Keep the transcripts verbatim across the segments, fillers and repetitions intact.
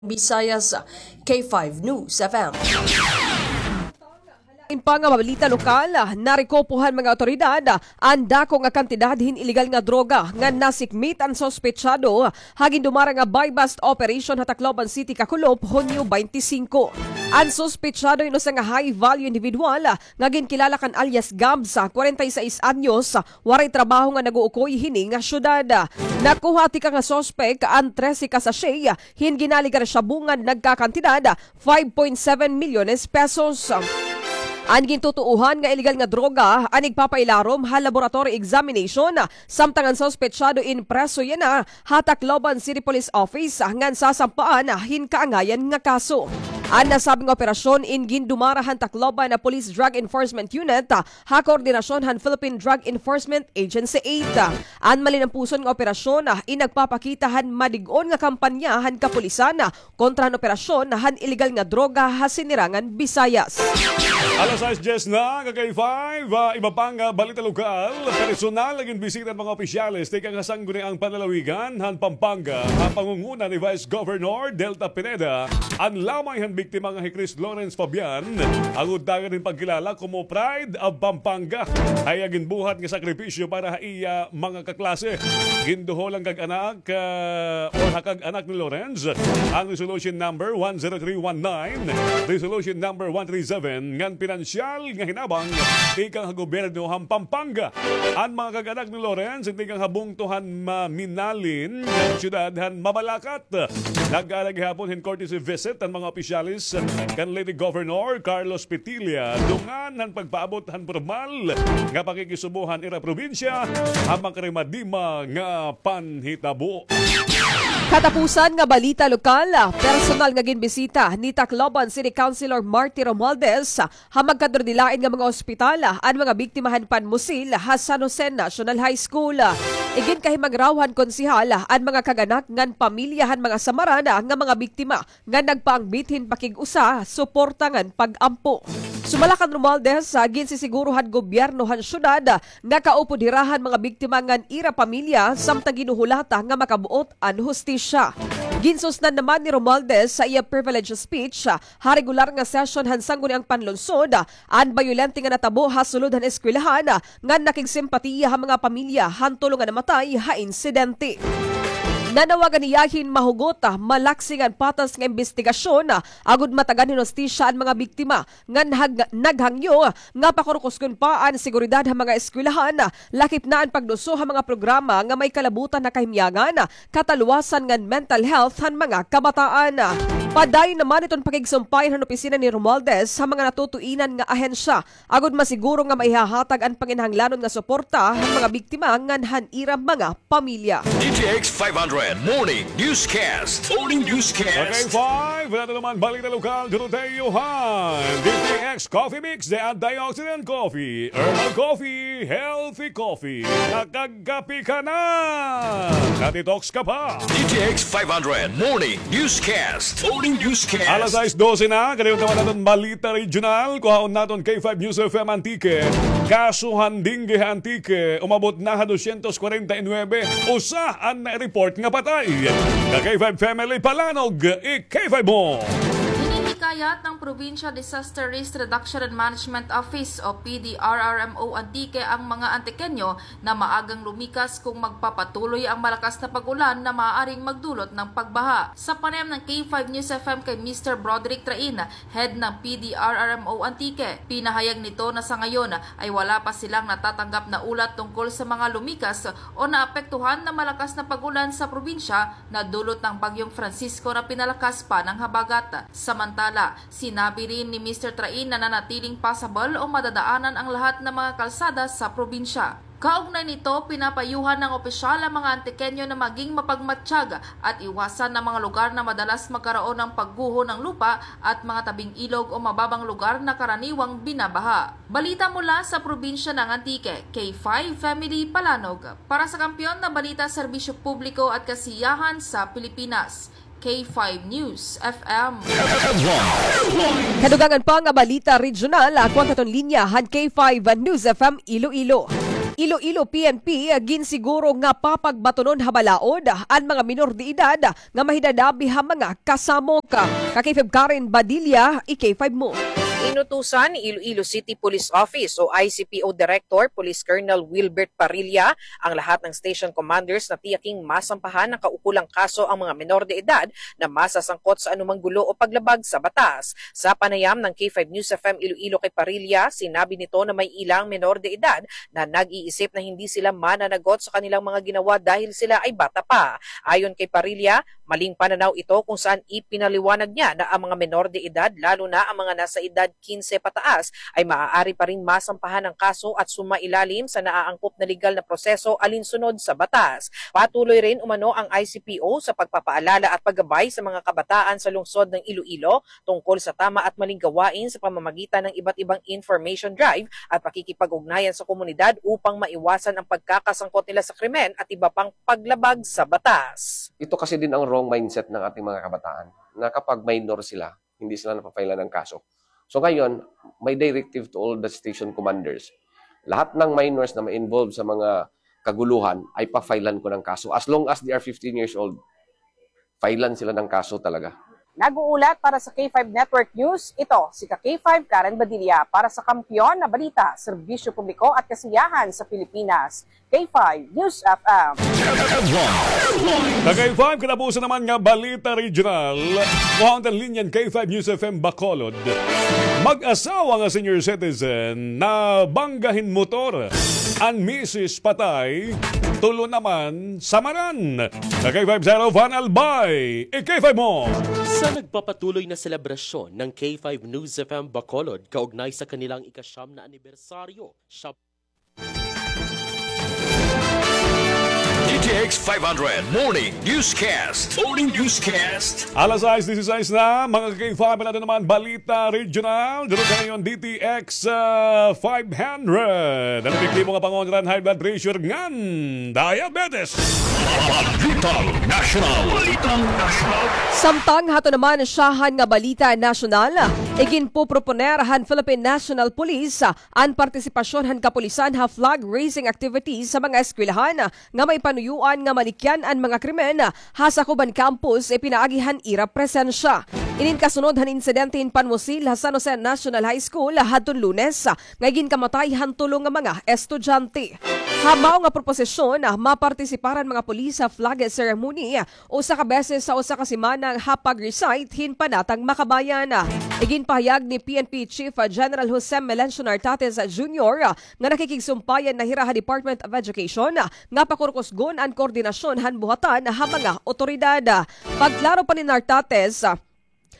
Visayas, K five News F M. In pa nga balita lokal, narekupo han mga awtoridad an dako nga kantidad hin iligal nga droga nga nasikmit an suspetsado ha gindumara nga buy-bust operation ha Tacloban City kakulop Hunyo twenty-five. An suspetsado hin usa nga high-value individual nga ginkilala kan alias Gabs, kwarenta y seis anyos, waray trabaho nga nag-uukoy hini nga syudad. Nakuha tikang nga suspek an trese ka sachet hin ginaligar shabu nga nagkakantidad five point seven milyones pesos. An gintutuohan nga iligal nga droga an igpapailarom ha laboratory examination, samtang an suspetsado in preso yana ha Tacloban City Police Office ngan sasampaan hin kaangayan nga kaso. An nasabing operasyon in gindumara han Tacloban Police Drug Enforcement Unit ha koordinasyon han Philippine Drug Enforcement Agency eight. An malinampuson nga operasyon in nagpapakita han madig-on nga kampanya han kapulisan kontra han operasyon han iligal nga droga ha Sinirangan Visayas. Alas sais dyes na, ka K five, ah, iba pa nga balita lokal. Personal nga ginbisita han mga opisyales tikang ha Sangguniang Panlalawigan han Pampanga, ha pangunguna ni Vice Governor Delta Pineda, an lamay han biktima nga hi Chris Lawrence Fabian, agud dagan hin pagkilala komo Pride of Pampanga. Ha iya ginbuhat nga sakripisyo para ha iya mga kaklase. Ginduhol han kag-anak, ah, or ha kag-anak ni Lawrence an Resolution Number one zero three one nine, Resolution Number one three seven, ngan pinansyal nga hinabang tikang ha gobyerno han Pampanga. An mga kag-anak ni Lawrence tikang ha bungto han Maminalin, syudad han Mabalacat. Nag-ara gihapon hin courtesy visit an mga opisyales kan Leyte Governor Carlos Petilla, dungan han pagpaabot han pormal nga pakikisubo han ira probinsya ha makarimadima nga panhitabo. Katapusan nga balita lokal, personal nga ginbisita ni Tacloban City Councilor Marty Romualdez ha magkadurdilain nga mga ospital an mga biktima han panmusil ha San Jose National High School. Iginkahimagraw han konsehal an mga kag-anak ngan pamilya han mga samaran nga mga biktima nga nagpaangbit hin pakig-usa, suporta ngan pag-ampo. Sumala kan Romualdez, ginsisiguro han gobyerno han syudad nga kaupod hira han mga biktima ngan ira pamilya samtang ginhuhulata nga makabuot an hustisya. Ginsusnan naman ni Romualdez ha iya privilege speech ha regular nga session han Sangguniang Panlungsod an bayolente nga natabo ha sulod han eskwelahan, ngan nakigsimpatiya ha mga pamilya han tulo nga namatay ha insidente. Nanawagan hiya hin mahugot, malaksi ngan patas nga imbestigasyon, agod matagan hin hustisya an mga biktima, ngan hag-, naghangyo nga pakurkuson pa an seguridad ha mga eskwelahan, lakip na an pagduso ha mga programa nga may kalabutan ha kahimyangan, kataluwasan ngan mental health han mga kabataan. Padayon naman iton pakigsumpay han opisina ni Romualdez ha mga natutuinan nga ahensya agod masiguro nga maihahatag an panginahanglanon nga suporta han mga biktima ngan han ira mga pamilya. D T X five hundred Morning Newscast. Morning Newscast. Okay, five. Wala na naman balita lokal. Dito tayo han D T X Coffee Mix, the antioxidant coffee, herbal coffee, healthy coffee. Nakag- Kape ka na! Nakadetox ka pa! D T X five hundred Morning Newscast. Morning Newscast. Alas sais dose na, kadayon naman aton balita regional. Kuhaon naton K five News F M Antique. Kaso han dengue ha Antique, umabot na ha dosyentos kwarenta y nuebe. Usa an na-report nga patay. Ka K five Family, palanog, i-K five mo. Hinihikayat ng Provincial Disaster Risk Reduction and Management Office o P D R R M O Antique ang mga Antiqueño na maagang lumikas kung magpapatuloy ang malakas na pag-ulan na maaaring magdulot ng pagbaha. Sa panayam ng K five News F M kay Mister Broderick Train, head ng P D R R M O Antique, pinahayag nito na sa ngayon ay wala pa silang natatanggap na ulat tungkol sa mga lumikas o naapektuhan ng malakas na pag-ulan sa probinsya na dulot ng Bagyong Francisco na pinalakas pa ng habagat. Samantala, sinabi rin ni Mister Train na nanatiling pasabal o madadaanan ang lahat ng mga kalsada sa probinsya. Kaugnay nito, pinapayuhan ng opisyal ang mga Antiqueño na maging mapagmatsyag at iwasan ang mga lugar na madalas magkaroon ng pagguho ng lupa at mga tabing ilog o mababang lugar na karaniwang binabaha. Balita mula sa probinsya ng Antique, K five Family Palanog. Para sa kampiyon na balita, serbisyo publiko at kasiyahan sa Pilipinas, K five News F M. Kadugangan pa nga balita regional, ako an katon linya han K five News F M Iloilo. Iloilo P N P ginsiguro nga papagbatunon ha balaod an mga minor de edad nga mahidadabi ha mga kasamok. Ka K five Karen Badilla, i-K five mo. Inutusan ni Iloilo City Police Office o I C P O Director Police Colonel Wilbert Parilla ang lahat ng station commanders na tiyaking masampahan ng kaukulang kaso ang mga menor de edad na masasangkot sa anumang gulo o paglabag sa batas. Sa panayam ng K five News F M Iloilo kay Parilla, sinabi nito na may ilang menor de edad na nag-iisip na hindi sila mananagot sa kanilang mga ginawa dahil sila ay bata pa. Ayon kay Parilla, maling pananaw ito kung saan ipinaliwanag niya na ang mga menor de edad, lalo na ang mga nasa edad kinse pataas, ay maaari pa ring masampahan ng kaso at sumailalim sa naaangkop na legal na proseso alinsunod sa batas. Patuloy rin umano ang I C P O sa pagpapaalala at paggabay sa mga kabataan sa lungsod ng Iloilo tungkol sa tama at maling gawain sa pamamagitan ng iba't ibang information drive at pakikipag-ugnayan sa komunidad upang maiwasan ang pagkakasangkot nila sa krimen at iba pang paglabag sa batas. Ito kasi din ang wrong mindset ng ating mga kabataan, na kapag minor sila, hindi sila napapailan ng kaso. So ngayon, my directive to all the station commanders, lahat ng minors na ma-involve sa mga kaguluhan ay pa-filean ko ng kaso. As long as they are fifteen years old, filean sila ng kaso talaga. Nag-uulat para sa K five Network News, ito si ka K five Karen Badilla para sa Kampiyon na Balita, Serbisyo Publiko at Kasiyahan sa Pilipinas. K five News F M. Ka K five, katapusan naman nga balita regional. Kuhaon ta linya an K five News F M Bacolod. Mag-asawa nga senior citizen nabangga hin motor. An misis patay, tulo naman samaran. Ka K five Zero, Van Albay, i-K five mo. Sa nagpapatuloy na selebrasyon ng K five News F M Bacolod kaugnay sa kanilang ikasyam na anibersaryo, siya D T X five hundred Morning Newscast. Morning Newscast. Alas sais disisais na, mga ka K five, nato naman balita regional. Dito sa ngayon, D T X, ah, five hundred. An epektibo nga pangontra han high blood pressure ngan diabetes. Balitang nasyonal. Balitang nasyonal. Samtang hato naman syahan nga balita nasyonal, iginpoproponer han Philippine National Police an partisipasyon han kapulisan ha flag raising activities sa mga eskwelahan nga may panuyoan nga malikyan an mga krimen ha sakob han campus, ipinaagi han ira presensya. Inin kasunod han insidente hin panmusil ha San Jose National High School hadton Lunes, nga iginkamatay han tulo nga mga estudyante. Ha mao nga proposisyon, mapartisipar an mga pulis ha flag ceremony usa ka beses sa usa ka semana ha pag-recite hin Panatang Makabayan. Iginpahayag ni P N P Chief General Jose Melencio Nartates Junior nga nakikigsumpayan na hira ha Department of Education nga pakurkusgon an koordinasyon han buhatan ha mga otoridad. Pagklaro pa ni Nartates,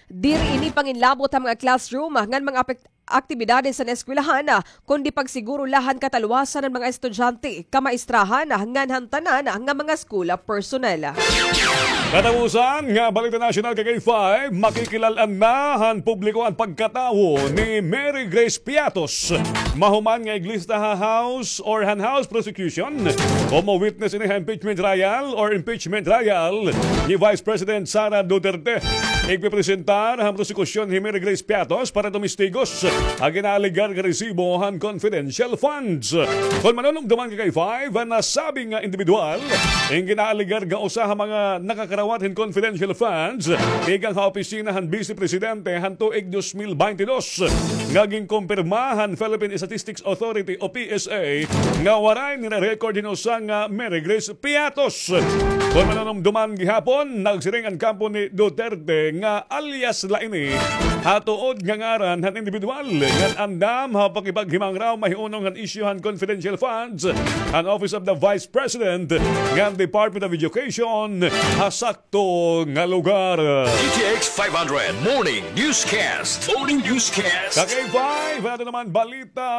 diri ini panginlabot ha mga classroom ngan mga apek-, aktibidades han eskwelahan, kundi pagsiguro la han katalwasan han mga estudyante, kamaistrahan, ngan han tanan nga mga school personnel. Katapusan nga balita nasyonal, ka K five, makikilal-an na han publiko an pagkatawo ni Mary Grace Piatos. Mahuman nga iglista ha House or han House prosecution, komo witness ini ha impeachment trial or impeachment trial ni Vice President Sara Duterte. Igpipresentar han prosekusyon hi Mary Grace Piatos para tumistigos ha ginaalegar nga resibo han confidential funds. Kon manunumdoman, ka K five, an nasabi nga indibidwal, in ginaalegar nga usa ha mga nakakarawat hin confidential funds tikang ha opisina han Bise Presidente han tuig dos mil baynte dos, nga ginkumpirma han Philippine Statistics Authority o P S A nga waray nire-record hin usa nga Mary Grace Piatos. Kon manunumdoman gihapon, nagsiring an kampo ni Duterte nga alias la ini ha tuod nga ngaran han indibidwal ngan andam ha pakipaghimangraw mahiunong han isyu han confidential funds han Office of the Vice President ngan Department of Education ha sakto nga lugar. D T X five hundred Morning Newscast. Morning Newscast. Ka K five, ato naman balita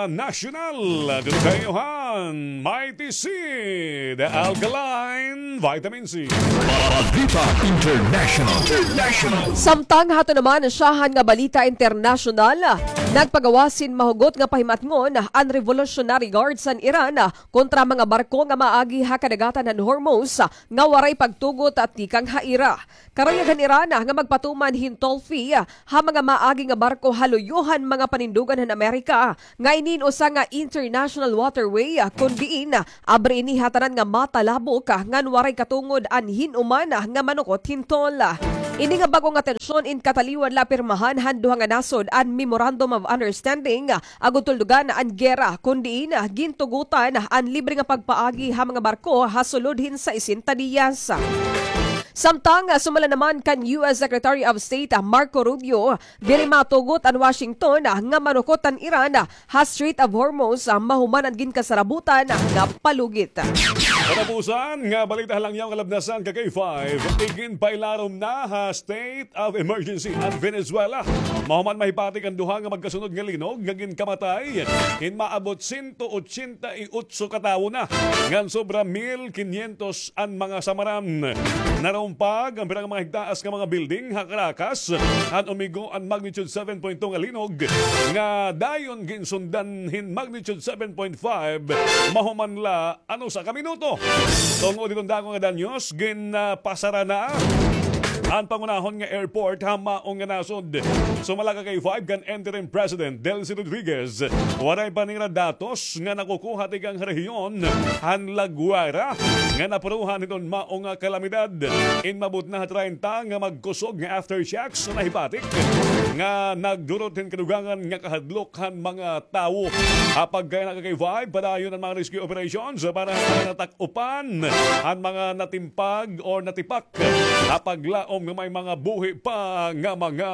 nasyonal. Dito kayo han Mighty Seed Alkaline Vitamin C. Balita International. International. Samtang hato naman syahan nga balita internasyonal, Nagpagawas hin mahugot nga pahimatngon an Revolutionary Guards han Iran kontra mga barko nga maagi ha kadagatan han Hormuz nga waray pagtugot tikang ha ira. Karuyag han Iran nga magpatuman hin toll fee ha mga maagi nga barko ha luyo han mga panindugan han Amerika, nga ini in usa nga international waterway, kon diin abri ini ha tanan nga matalabok ngan waray katungod an hin-uman nga manukot hin toll. Ini nga bag-o nga tensyon in kataliwan la pirmahan han duha nga nasod an Memorandum of Understanding agud tuldugan an gera, kon diin gintugotan an libre nga pagpaagi ha mga barko ha sulod hin sesenta diyas. Samtang, sumala naman kan U S Secretary of State Marco Rubio, diri matugot an Washington nga manukot an Iran ha Strait of Hormuz mahuman an ginkasarabutan nga palugit. Katapusan nga balita ha langyaw nga labnasan, ka K five, iginpailarom na ha state of emergency an Venezuela. Mahuman mahipatik an duha nga magkasunod nga linog nga ginkamatay hin maabot sento otsenta y otso ka tawo na, ngan sobra mil kinyentos an mga samaran. Narumpag an pira nga mga higtaas nga mga building ha Caracas han umigo an magnitude seven point two nga linog, nga dayon ginsundan hin magnitude seven point five mahuman la an usa ka minuto. Tungod hiton dako nga danyos, ginpasara na an pangunahon nga airport ha maong nga nasod. Sumala, ka K five, kan Interim President Delcy Rodriguez, waray pa nira datos nga nakukuha tikang ha rehiyon han La Guaira nga napuruhan hiton maong nga kalamidad. In maabot na ha treinta nga magkusog nga aftershocks an nahipatik nga nagdurot hin kadugangan nga kahadlok han mga tawo. Ha pagkayana, ka K five, padayon an mga rescue operations para sa natak-upan an mga natimpag or natipak ha paglaom nga may mga buhi pa nga mga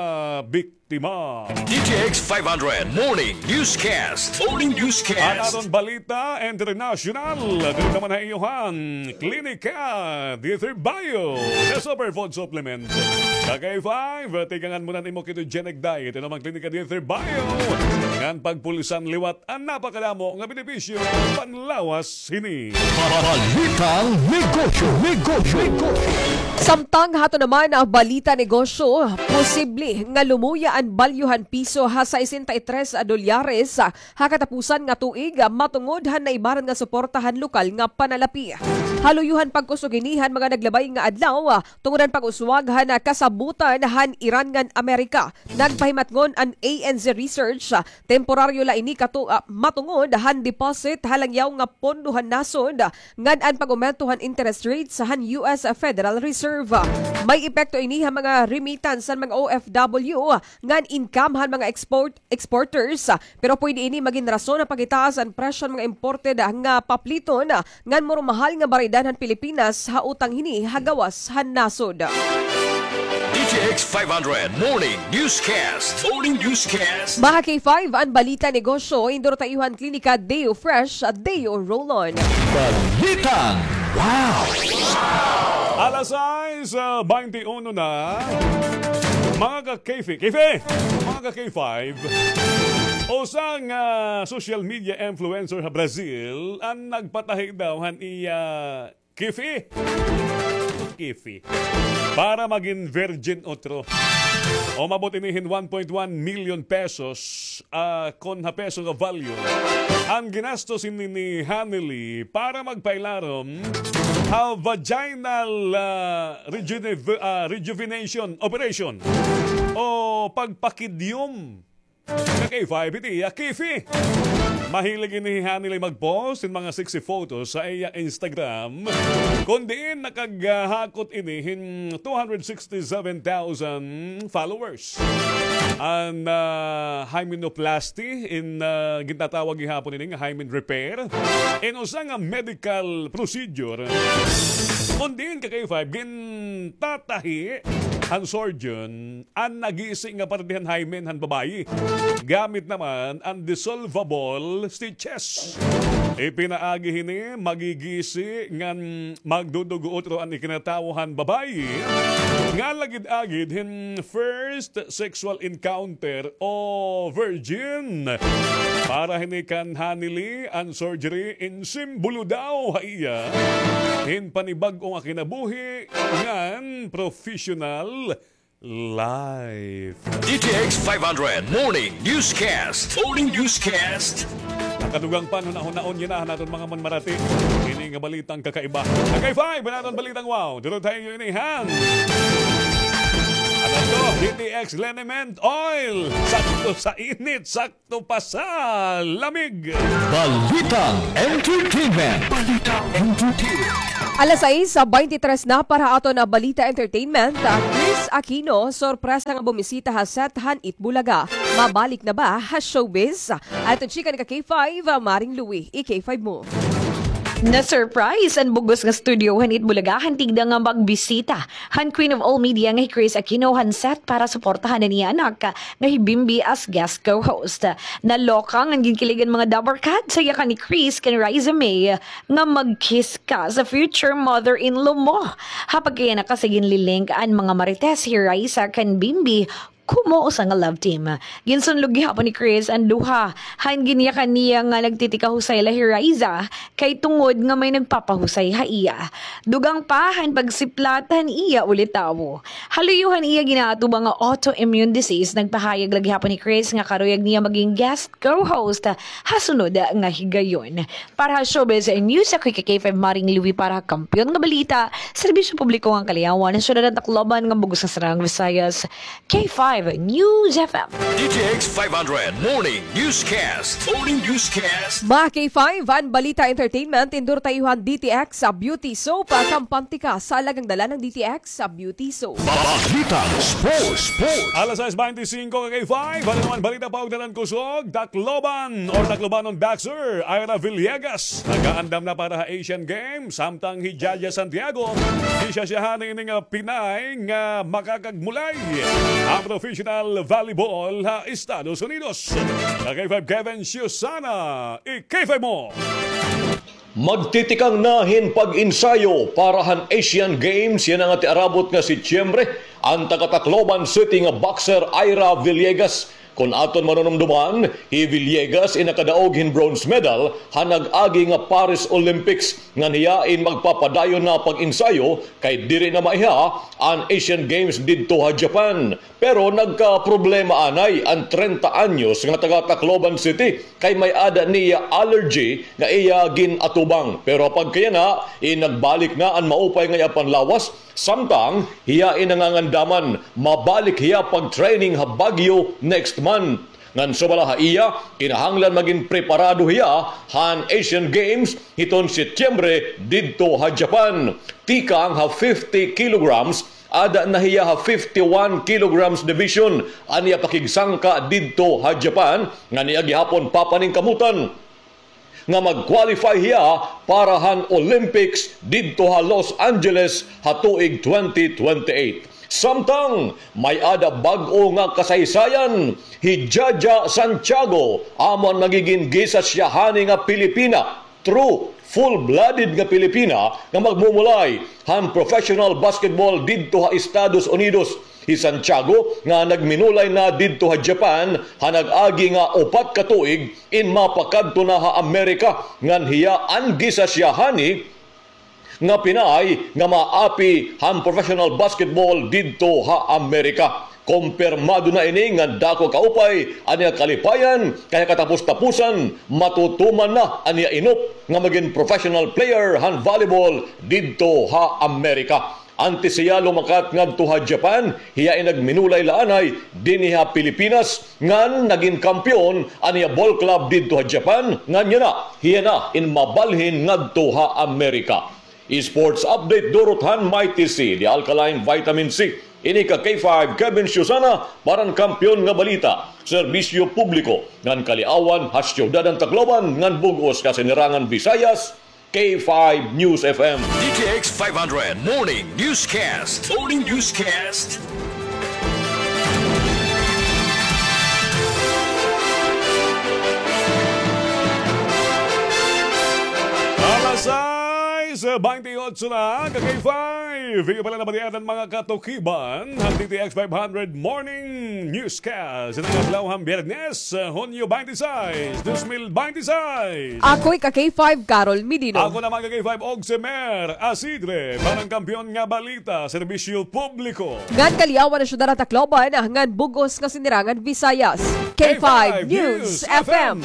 biktima. D T X five hundred Morning Newscast. Morning Newscast. An aton balita international, diri naman ha iyo han Klinika Dieter Bio, the superfood supplement. Ka K five, tikangan mo na an imo ketogenic diet. Ano man Klinika Dieter Bio, ngan pagpulisan liwat an napakadamo nga benepisyo panlawas hini. Balitang negosyo, negosyo, negosyo. Samtang hato naman an balita negosyo, posible nga lumuya an balyo han piso ha sesenta y tres dolyares ha katapusan nga tuig, matungod han naibaran nga suporta han lokal nga panalapi. Ha luyo han pagkusog hini han mga naglabay nga adlaw, tungod han pag-uswag han kasabotan han Iran ngan Amerika. Nagpahimatngon an A N Z Research, temporaryo la ini katu-, ah, matungod han deposit ha langyaw nga pondo han nasod, ngan an pag-umento han interest rates han U S Federal Reserve. May epekto ini ha mga remittance han mga O F W, ngan income han mga export-, exporters, pero pwede ini magin rason han pagitaas han presyo han mga imported nga papliton, ngan murumahal nga baraydan han Pilipinas ha utang hini ha gawas han nasod. D T X five hundred Morning Newscast. Morning Newscast. Mga K five, an balita negosyo, induro ta iyo han Klinika Deo Fresh, Deo Roll-On. Balitang wow! Alas sais, ah, baynte uno na. Mga ka-K five, K five, mga ka-K five, usa nga social media influencer ha Brazil an nagpatahi daw han iya kifi. Kifi. Para magin virgin utro. Umabot ini hin one point one million pesos, ah, kon ha peso nga value, an ginastos hini ni Hanily para magpailarom ha vaginal, ah, rejuve-, ah, rejuvenation operation o pagpakidyom. Ka K five, iti iya kifi. Mahilig ini hi Hanily mag-post hin mga sexy photos ha iya Instagram, kon diin nakaghakot ini hin two hundred sixty-seven thousand followers. An, ah, hymenoplasty, in, ah, gintatawag gihapon ini nga hymen repair, in usa nga medical procedure, kon diin, ka K five, gintatahi han surgeon an nagisi nga parte han hymen han babayi. Gamit naman an dissolvable stitches. Ipinaagi hini, magigisi ngan magdudugo utro an ikinatawo han babayi nga lagid-agid hin first sexual encounter o virgin. Para hini kan Hanily, an surgery in simbolo daw ha iya hin panibag-o nga kinabuhi ngan professional Life. D T X five hundred Morning Newscast. Morning Newscast. Nakadugang pa, hunahunaon niyo na han aton mga manmarati. Ini nga balitang kakaiba. Kakaiba, iba naton balitang wow. Duro tayo niyo inihan. Ano to? D T X Liniment Oil. Sakto sa init, sakto pa sa lamig. Balitang Entertainment. Balitang Entertainment. Alas sais, ah, baynte tres na para aton, ah, Balita Entertainment. Ah, Chris Aquino, sorpresa nga bumisita ha set han Eat Bulaga. Mabalik na ba ha showbiz? Aton chika ni ka K five, ah, Maring Louie, i K five mo. Na-surprise an bug-os nga studio han Eat Bulaga han tigda nga magbisita han Queen of All Media nga hi Chris Aquino han set para suportahan an iya anak nga hi Bimbi as guest co-host. Naloka ngan ginkilig an mga Dabarcats ha yakan ni Chris kan Raiza Mae nga mag-kiss ka sa future mother-in-law mo. Ha pagkayana kasi ginlilink an mga marites hi Raiza kan Bimbi komo usa nga love team. Ginsunlog gihapon ni Chris an duha han ginyakan niya nga nagtitikahusay la hi Raiza kay tungod nga may nagpapahusay ha iya. Dugang pa han pagsiplat han iya ulitawo. Ha luyo han iya ginaatubang nga autoimmune disease, nagpahayag la gihapon hi Chris nga karuyag niya maging guest co-host ha sunod nga higayon. Para ha showbiz news, ako hi ka K five Maring Louie para ha Kampiyon nga Balita, Serbisyo Publiko ngan Kaliyawan, Syudad han Tacloban ngan bug-os nga Saraang Visayas, K five News F M. D T X five hundred Morning Newscast. Morning Newscast. Mga K five, an Balita Entertainment, tindor tayo han D T X sa Beauty Soap, ah, kampante ka sa alagang dala ng D T X sa Beauty Soap. Balitang Sports, Sports. Alas sais baynte singko, ka K five. Ano naman balita pa, ugnadan kusog? Tacloban or Taclobanon boxer Ira Villegas nagaandam na para ha Asian Games. Samtang hi Jaja Santiago, hi siya siya hani ini nga Pinay nga makakagmulay ha professional volleyball ha Estados Unidos. Ka K five Kevin Susana, i K five mo. Magtitikang na hin pag-ensayo para han Asian Games yana nga tiarabot nga Setyembre an taga-Tacloban City nga boxer Ira Villegas. Kon aton manunumduman, hi Villegas in nakadaog hin bronze medal han nag-agi nga Paris Olympics, ngan hiya in magpapadayon na pag-ensayo kay diri na maiha an Asian Games didto ha Japan. Pero nagkaproblema anay an trenta anyos nga taga Tacloban City kay may-ada niya allergy nga iya gin-atubang. Pero ha pagkayana, in nagbalik na an maupay nga iya panlawas, samtang hiya in nangangandaman mabalik hiya pag-training ha Baguio next month. Ngan sumala ha iya, kinahanglan magin preparado hiya han Asian Games hiton Setyembre didto ha Japan. Tikang ha fifty kilograms, ada na hiya ha fifty-one kilograms division an iya pakigsangka didto ha Japan, ngan iya gihapon papaningkamutan nga mag-qualify hiya para han Olympics didto ha Los Angeles ha tuig twenty twenty-eight. Samtang may-ada bag-o nga kasaysayan, hi Jaja Santiago amo an magigin gisas hiya hani nga Pilipina. True, full-blooded nga Pilipina nga magmumulay han professional basketball didto ha Estados Unidos. Hi Santiago nga nagminulay na didto ha Japan ha nag-agi nga upat ka tuig in mapakadto na ha Amerika, ngan hiya an gisas hiya hani nga Pinay nga maapi han professional basketball didto ha Amerika. Kompirmado na ini nga dako kaupay an iya kalipayan kay ha katapos-tapusan matutuman na an iya inop nga magin professional player han volleyball didto ha Amerika. Antes hiya lumakat ngadto ha Japan, hiya in nagminulay la anay dinhi ha Pilipinas ngan nagin kampiyon an iya ball club didto ha Japan, ngan yana hiya na in mabalhin ngadto ha Amerika. Sports update durot han Mighty C, the alkaline vitamin C. Ini ka K five Kevin Susana para han Kampiyon nga Balita, Serbisyo Publiko ngan Kaliawan ha Syudad han Tacloban ngan bug-os nga Sinirangan Visayas, K five News F M. D T X five hundred Morning Newscast. Morning Newscast. Alas sais, baynte otso na, ka K five. Video pala na balian an mga katukiban han D T X five hundred Morning Newscast. Sa adlaw han Biyernes, Hunyo twenty-six, dos mil twenty-six. Ako'y ka K five, Carol Medino. Ako naman ka K five, Ogsemer Asidre. Para han Kampiyon nga Balita, Serbisyo Publiko. Ngan kaliyawan han syudad han Tacloban, ngan bug-os nga sinirangan Visayas. K five News F M.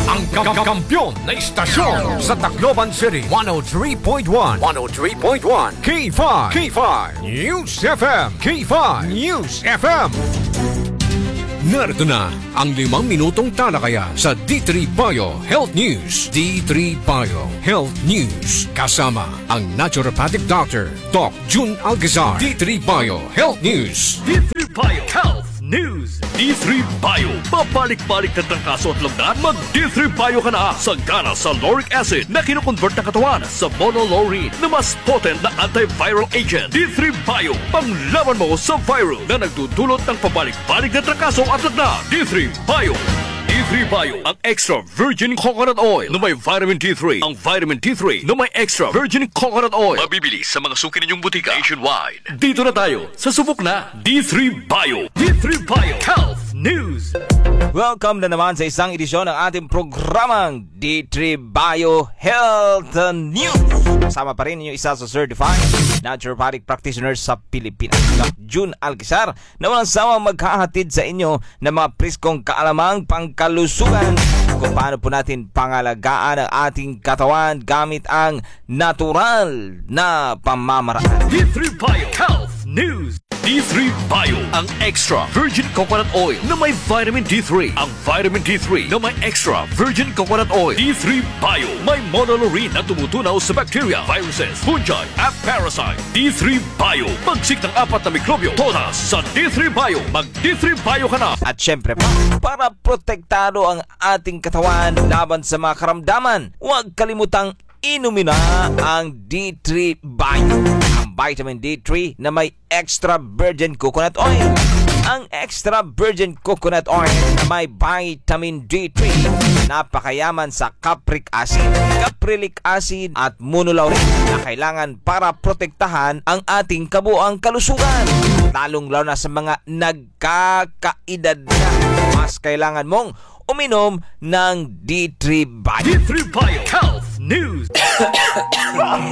Ang ka-, ka-, kampiyon na istasyon sa Tacloban City, one oh three point one, one oh three point one, K five, K five News F M, K five News F M. Narito na ang limang minutong talakayan sa D three Bio Health News. D three Bio Health News, kasama ang naturopathic doctor, Doc Jun Alcazar. D three Bio Health News. D three Bio Health News. D three Bio. Pabalik-balik na trangkaso at lagnat? Mag D three Bio ka na. Sagana sa lauric acid na kinokonvert ng katawan sa monolaurin na mas potent na antiviral agent. D three Bio. Panglaban mo sa virus na nagdudulot ng pabalik-balik na trangkaso at lagnat. D three Bio. D three Bio. Ang extra virgin coconut oil na may vitamin D three. Ang vitamin D three na may extra virgin coconut oil. Mabibili sa mga suki ninyong butika nationwide. Dito na tayo sa subok na D three Bio. D three Bio Health News. Welcome na naman sa isang edisyon ng ating programang D three Bio Health News. Kasama pa rin inyo isa sa certified naturopathic practitioner sa Pilipinas, Doc Jun Alcazar, na walang sawang maghahatid sa inyo ng mga preskong kaalamang pangkalusugan kung paano po natin pangalagaan ang ating katawan gamit ang natural na pamamaraan. D three Bio Health News. D three Bio, ang extra virgin coconut oil na may vitamin D three. Ang vitamin D three na may extra virgin coconut oil. D three Bio, may monolaurin na tumutunaw sa bacteria, viruses, fungi, at parasite. D three Bio, pagsik ng apat na mikrobyo, todas sa D three Bio. Mag D three Bio ka na. At syempre pa, para protektado ang ating katawan laban sa mga karamdaman, huwag kalimutang inumin na ang D three Bio, ang vitamin D three na may extra virgin coconut oil. Ang extra virgin coconut oil may vitamin D three, napakayaman sa capric acid, caprylic acid at monolaurin na kailangan para protektahan ang ating kabuang kalusugan, lalong-lalo na sa mga nagkakaedad na. Mas kailangan mong uminom ng D three Bio. D three Bio Health News.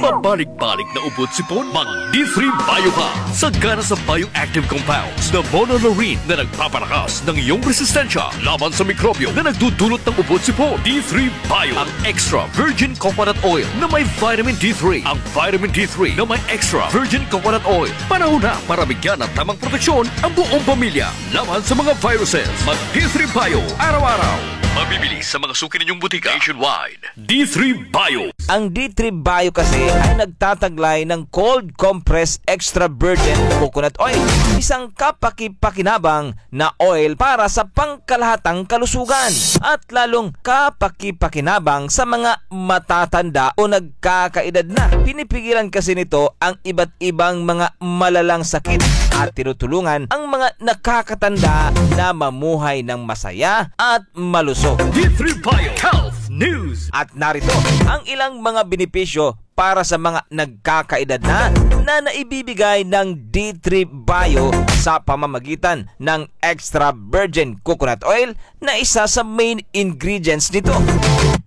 Pabalik-balik na ubo at sipon? Mag D three Bio ka. Sagana sa bioactive compounds na monolaurin na nagpapalakas ng iyong resistensya laban sa mikrobyo na nagdudulot ng ubo at sipon. D three Bio, ang extra virgin coconut oil na may vitamin D three. Ang vitamin D three na may extra virgin coconut oil. Panahon na para bigyan ng tamang proteksyon ang buong pamilya laban sa mga viruses. Mag D three Bio araw-araw. Mabibili sa mga suki ninyong butika nationwide. D three Bio. Ang D three Bio kasi ay nagtataglay ng cold compressed extra virgin coconut oil, isang kapaki-pakinabang na oil para sa pangkalahatang kalusugan at lalong kapaki-pakinabang sa mga matatanda o nagkakaedad na. Pinipigilan kasi nito ang iba't ibang mga malalang sakit at tinutulungan ang mga nakakatanda na mamuhay ng masaya at malusog. D three Bio Health News. At narito ang ilang mga benepisyo para sa mga nagkakaedad na, na naibibigay ng D three Bio sa pamamagitan ng extra virgin coconut oil na isa sa main ingredients nito.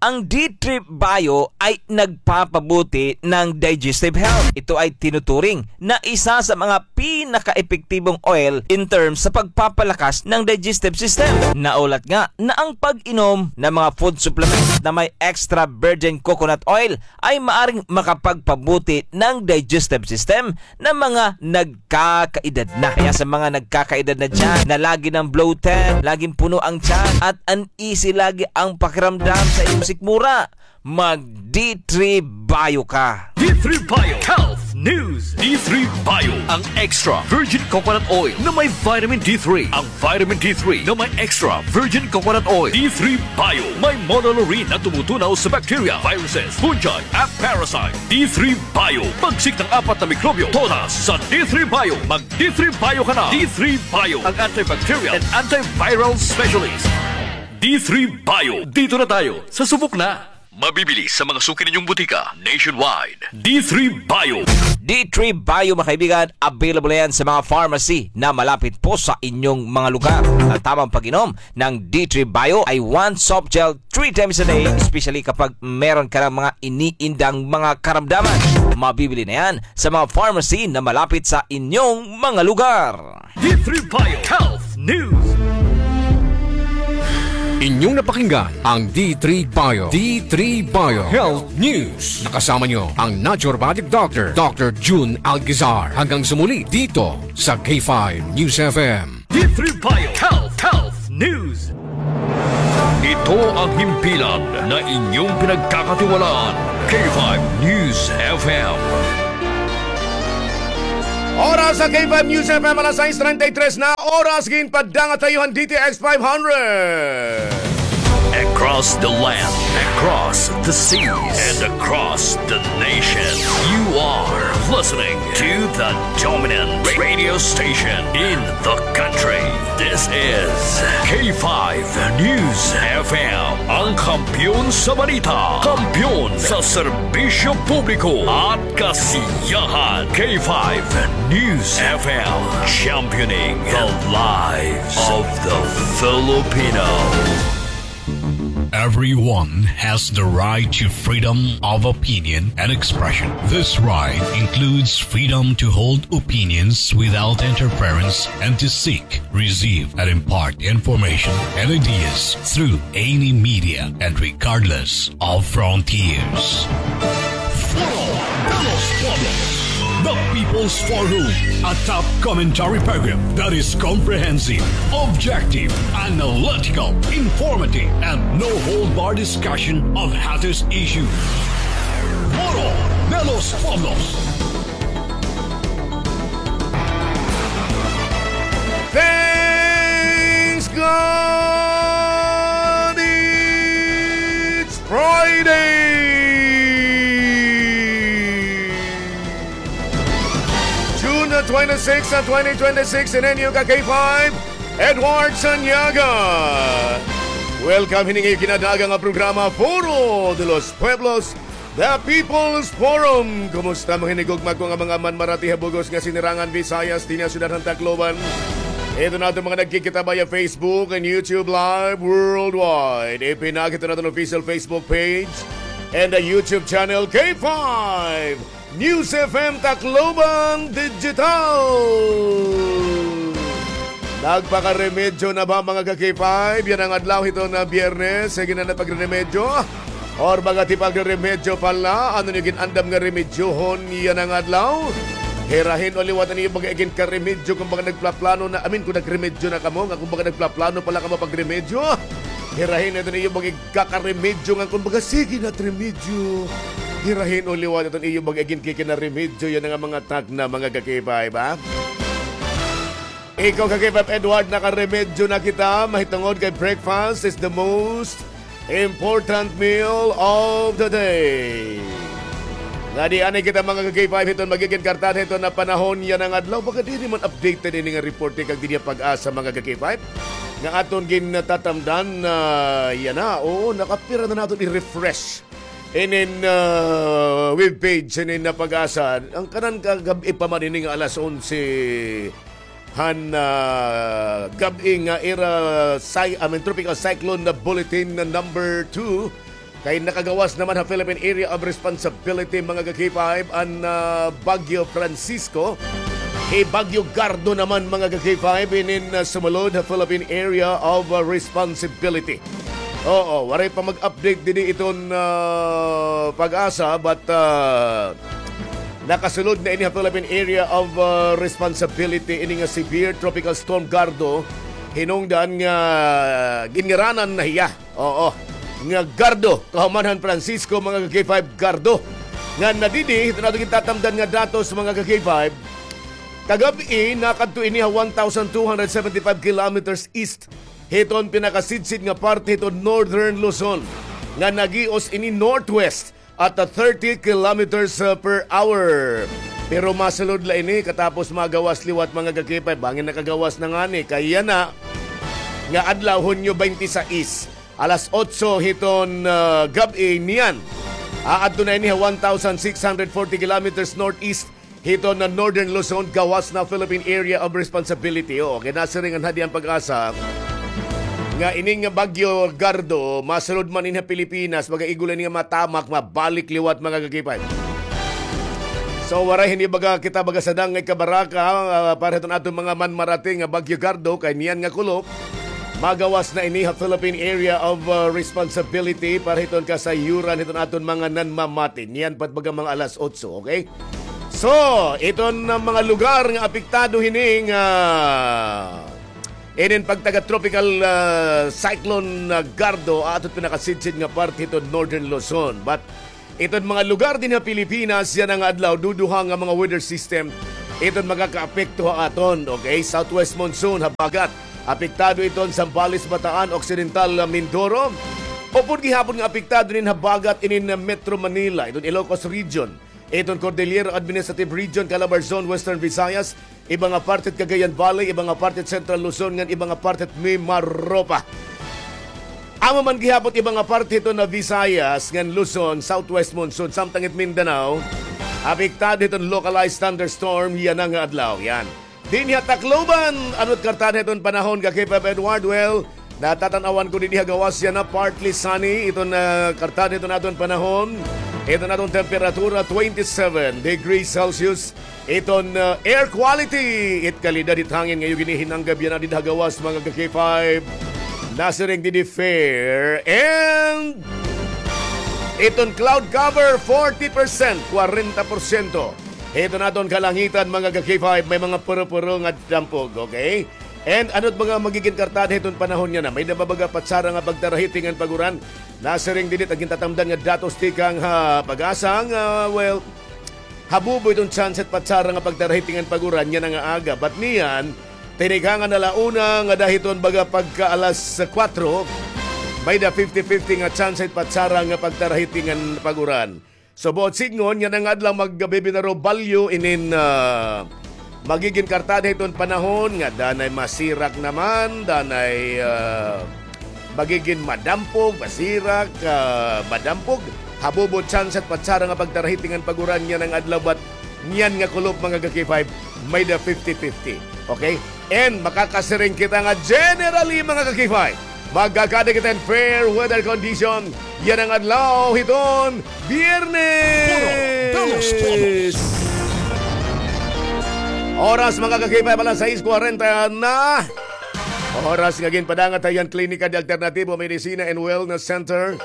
Ang D three Bio ay nagpapabuti ng digestive health. Ito ay tinuturing na isa sa mga pinakaepektibong oil in terms sa pagpapalakas ng digestive system. Naulat nga na ang pag-inom ng mga food supplements na may extra virgin coconut oil ay maaring makapagpabuti ng digestive system ng mga nagkakaedad na. Kaya sa mga nagkakaedad na dyan, na lagi ng bloated, laging puno ang tiyan, at uneasy lagi ang pakiramdam sa iyong sikmura, mag D three Bio ka. D three Bio Health News. D three Bio, ang extra virgin coconut oil na may vitamin D three. Ang vitamin D three na may extra virgin coconut oil. D three Bio, may monolaurin na tumutunaw sa bacteria, viruses, fungi, at parasite. D three Bio, pagsik ng apat na mikrobyo, todas sa D three Bio. Mag D three Bio ka na. D three Bio, ang antibacterial and antiviral specialist. D three Bio, dito na tayo sa subok na. Mabibili sa mga suki ninyong butika nationwide. D three Bio. D three Bio, mga kaibigan, available na yan sa mga pharmacy na malapit po sa inyong mga lugar. At tamang pag-inom ng D three Bio ay one soft gel three times a day, especially kapag meron ka ng mga iniindang mga karamdaman. Mabibili na yan sa mga pharmacy na malapit sa inyong mga lugar. D three Bio Health News. Inyong napakinggan ang D three Bio, D three Bio Health News. Nakasama nyo ang naturopathic doctor, Doctor Jun Algizar. Hanggang sa muli dito sa K five News F M. D three Bio Health, Health News. Ito ang himpilan na inyong pinagkakatiwalaan, K five News F M. Oras sa K five News F M, alas sais treinta y tres na. Oras ginpaddangat ha iyo han D T X five hundred. Across the land, across the seas, and across the nation, you are listening to the dominant radio station in the country. This is K five News F M, ang kampiyon sa balita, kampiyon sa serbisyo publiko at kasiyahan. K five News F M, championing the lives of the Filipino. Everyone has the right to freedom of opinion and expression. This right includes freedom to hold opinions without interference and to seek, receive, and impart information and ideas through any media and regardless of frontiers. Foro de los Pueblos, the People's Forum, a top commentary program that is comprehensive, objective, analytical, informative, and no-hold-bar discussion of hottest issues. Foro de los Pueblos. Thanks God it's Friday! June twenty-six, twenty twenty-six, ini an iyo ka K five, Edward Sanyaga. Welcome hini nga iyo kinadagan nga programa, Foro de los Pueblos, The People's Forum. Kumusta, mga hinigugma ko nga mga manmarati ha bug-os nga sinirangan Visayas, dinhi ha syudad han Tacloban? Ito na aton mga nagkikita via Facebook and YouTube Live worldwide. Ipinakita naton official Facebook page and a YouTube channel, K five News F M Tacloban Digital. Nagpakaremedyo na ba, mga ka-K five? Yana nga adlaw hiton Biyernes, sige na an pagreremedyo. Or baga ti pagreremedyo pa la, ano an iyo gin-andam nga remedyohon yana nga adlaw? Hirahin o liwat an iyo baga iginkaremedyo, kumbaga nagplaplano na, I mean, kon nagremedyo na kamo, nga kumbaga nagplaplano pa la kamo pagremedyo. Hirahin ito an iyo baga igkakaremedyo, nga kumbaga sige na it remedyo. Hirahin o liwat ito an iyo baga iginkikinaremedyo yana nga mga tagna, mga ka-K five, ha? Ikaw, ka-K five Edward, nakaremedyo na kita, mahitungod kay breakfast is the most important meal of the day. Nga di anay kita, mga ka-K five, hiton magigin kartad hiton nga panahon yana nga adlaw. Baga diri man updated ini nga report kag dinhi ha PAGASA, mga ka-K five. Nga aton gintatamdan na yana, oo, nakapira na naton i-refresh inin, ah, web page inin nga PAGASA. An kanan kagab-i pa man ini nga alas onse han, ah, gab-i nga ira cy-, I mean, Tropical Cyclone na Bulletin na number two. Kay nakagawas naman ha Philippine Area of Responsibility, mga ka-K five, an, ah, Bagyo Francisco. Hi Bagyo Gardo naman, mga ka-K five, inin, ah, sumulod ha Philippine Area of, ah, Responsibility. Oo, waray pa mag-update didi iton, ah, PAGASA, but, ah, nakasulod na ini ha Philippine Area of, ah, Responsibility ini nga severe Tropical Storm Gardo, hinungdan nga ginngaranan na hiya. Oo, nga Gardo, kahuman han Francisco, mga ka-K five, Gardo. Nga nadidi, hiton aton gintatamdan nga datos, mga ka-K five, kagab-i, nakadto ini ha one thousand two hundred seventy-five kilometers east hiton pinakasidsid nga parte hiton Northern Luzon, nga nagios ini northwest at, ah, thirty kilometers, ah, per hour. Pero masulod la ini katapos magawas liwat, mga ka-K five, bangin nakagawas na ngani. Kay yana nga adlaw, Hunyo twenty-six, alas otso hiton, ah, gab-i niyan. Aadto na ini ha one thousand six hundred forty kilometers northeast hiton, ah, Northern Luzon, gawas na Philippine Area of Responsibility. Oo, kay nasiring an Hadiyang PAGASA nga ining Bagyo Gardo masulod man ini ha Pilipinas, baga igul ini nga matamak, mabalik liwat, mga kakipay. So, waray hini baga kita baga sadang nga ikabaraka, ah, para hiton aton mga manmarating nga Bagyo Gardo, kay niyan nga kulop, magawas na ini ha Philippine Area of, ah, Responsibility para hiton kasayuran hiton aton mga nanmamati. Niyan pa it baga mga alas otso, okay? So, iton, ah, mga lugar nga apektado hini nga inin pagtaga Tropical, ah, Cyclone, ah, Gardo, aton pinakasidsid nga parte hiton Northern Luzon. But iton mga lugar dinhi ha Pilipinas yana nga adlaw, duduha nga mga weather system iton makakaapekto ha aton, okay? Southwest monsoon, habagat. Apektado iton Zambales, Bataan, Occidental, ah, Mindoro. Upod gihapon nga apektado inin habagat inin, ah, Metro Manila, iton Ilocos Region, iton Cordillera Administrative Region, Calabarzon, Western Visayas, iba nga parte it Cagayan Valley, iba nga parte it Central Luzon, ngan iba nga parte it Mimaropa. Amo man gihapon iba nga parte hiton Visayas ngan Luzon, southwest monsoon, samtang it Mindanao, apektado hiton localized thunderstorm yana nga adlaw. Yan. Dinhi ha Tacloban, ano it kartada hiton panahon, Ka K five Edward? Well, natatan-awan ko dinhi ha gawas yana, partly sunny iton, ah, kartada hiton aton panahon. Iton aton temperatura, twenty-seven degrees Celsius. Iton, ah, air quality, it kalidad hit hangin nga iyo ginihinanggab yana dida ha gawas, mga ka-K five. Nasiring didi fair. And iton cloud cover, forty percent, kwarenta porsyento. Hiton aton kalangitan, mga ka-K five, may mga puro-puro nga dampog, okay? And ano it mga magigin kartada hiton panahon yana? May-ada ba baga patsara nga pagtarahiting ngan pag-uran? Nasiring didi it gintatamdan nga datos tikang ha PAGASA nga, well, habubo iton tsansa hit patsara nga pagtarahiting ngan pag-uran yana nga aga. But niyan, tinikangan ala una ngada hiton baga pagka alas kuwatro, may-ada fifty fifty nga tsansa hit patsara nga pagtarahiting ngan pag-uran. So, buot sidngon yana nga adlaw, magbibinaro balyo inin, ah, magigin kartada hiton panahon nga danay masirak naman, danay, ah, magigin madampog, masirak, ah, madampog. Habubo tsansa hit patsara nga pagtarahiting ngan pag-uran yana nga adlaw, but niyan nga kulop, mga ka-K five, may-ada fifty fifty. Okay? And makakasiring kita nga generally, mga ka-K five, magkakada kita hin fair weather condition yana nga adlaw hiton Biyernes. Puro de los Pueblos. Oras, mga ka-K five, alas sais kwarenta na. Oras nga ginpadangat ha iyo han Klinika de Alternativo Medicina and Wellness Center,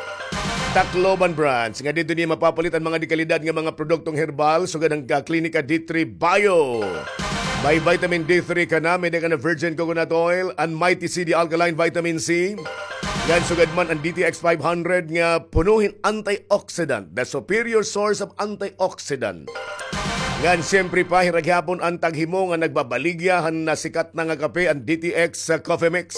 Tacloban Branch, nga didto niyo mapapalit an mga dekalidad nga mga produktong herbal, sugad han ka-, Klinika D three Bio. May vitamin D three ka na, may-ada ka na virgin coconut oil, an Mighty C D alkaline vitamin C. Ngan sugad man an D T X five hundred nga puno hin antioxidant, the superior source of antioxidant. Ngan siyempre pa, hira gihapon an taghimo nga nagbabaligya han nasikat na nga kape, an D T X sa Coffee Mix.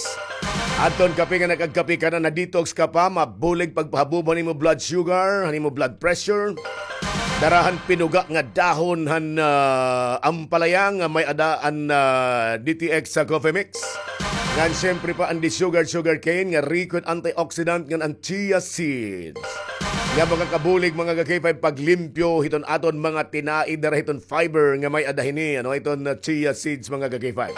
Adton kape nga nakagkape ka na, na-detox ka pa, mabulig pagpahabubo han imo blood sugar, han imo blood pressure. Dara han pinuga nga dahon han, ah, ampalaya nga may-ada an, ah, D T X sa Coffee Mix. Ngan siyempre pa an di sugar, sugar cane nga riko hin antioxidant ngan an chia seeds nga makakabulig, mga ka-K five, paglimpyo hiton aton mga tinai dara hiton fiber nga may-ada hini, ano, hiton, uh, chia seeds, mga ka-K five.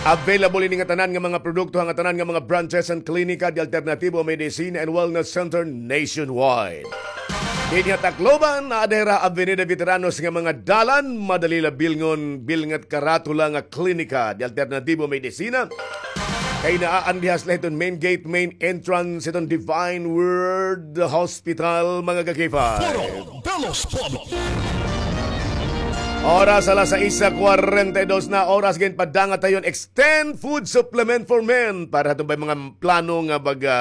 Available ini nga tanan nga mga produkto ha ngatanan nga mga branches han Klinika de Alternativo Medicina and Wellness Center nationwide. Dinhi ha Tacloban, naa dira Avenida Veteranos nga mga dalan, madali la bilngon, bilngat karatula nga Klinika de Alternativo Medicina. Kay naa an dihas la hiton main gate, main entrance hiton Divine Word Hospital, mga ka-K five. Foro de los Pueblos. Oras alas sais kwarenta y dos na, oras ginpadangat ha iyo hin Extend Food Supplement for Men. Para ha aton ba'y mga plano nga baga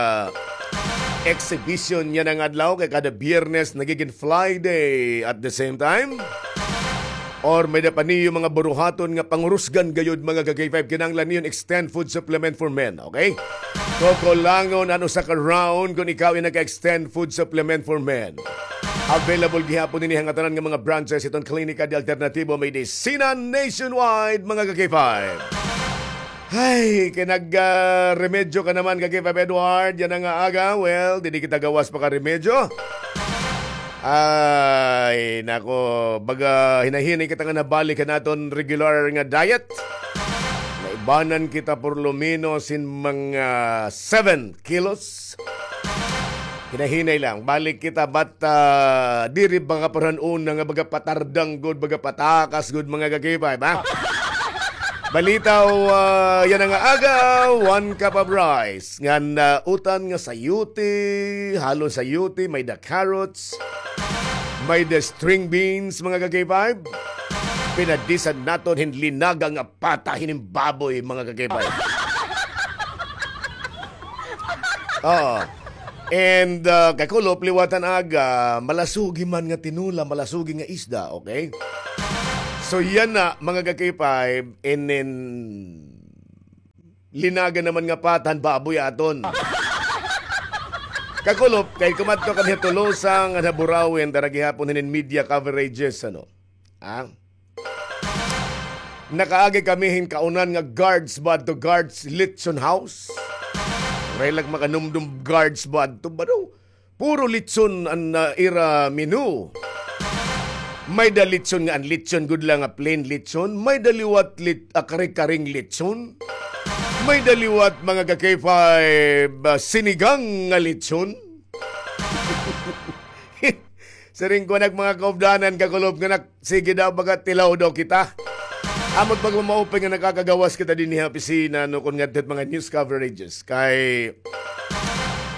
exhibition yana nga adlaw, kay kada Biyernes nagigin Friday at the same time. Or may-ada pa niyo mga buruhaton nga pangurusgan gayod, mga ka-K five, kinahanglan niyo hin Extend Food Supplement for Men, okay? Kukulangon an usa ka round kon ikaw in naka-Extend Food Supplement for Men. Available gihapon ini ha ngatanan nga mga branches hiton Klinika de Alternativo Medicina nationwide, mga ka-K five. Hay, kay nag, ah, remedyo ka naman, ka K five Edward, yana nga aga. Well, didi kita gawas pa ka remedyo. Ay, nako, baga hinahinay kita nga nabalik han aton regular nga diet. Naibanan kita por lo menos hin mga seven kilos. Hinahinay lang. Balik kita, but, ah, diri baga parang una nga baga patardang gud, baga patakas gud, mga ka-K five, ha? Balita, ah, yana nga aga, one cup of rice. Ngan, ah, utan nga sayote, halon sayote, may-da carrots, may-da string beans, mga ka-K five. Pinadisan naton hin linaga nga pata hinin baboy, mga ka-K five. Oo. And, ah, kakulop liwat han aga, malasugi man nga tinola, malasugi nga isda, okay? So, yana, mga ka-K five, inin linaga naman nga pata han baboy aton. Kakulop, kay kumadto kami ha Tolosa ngan ha Burauen, dara gihapon hinin media coverages, ano? Ah? Nakaagi kami hin kaunan nga Guards ba adto, Guards Lechon House. Waray la ak makanumdom Guards ba adto, ba daw? Puro lechon an, ah, ira menu. May-da lechon nga an lechon gud la nga plain lechon. May-da liwat lit-, ah, kare-kareng lechon. May-da liwat, mga ka-K five, ah, sinigang nga lechon. Siring ko nak mga kaupdanan, kakulop, nga nak-, sige daw, baga tilaw daw kita. Amo it pagmamaupay nga nakakagawas kita dinhi ha opisina, no, kon ngadto it mga news coverages. Kay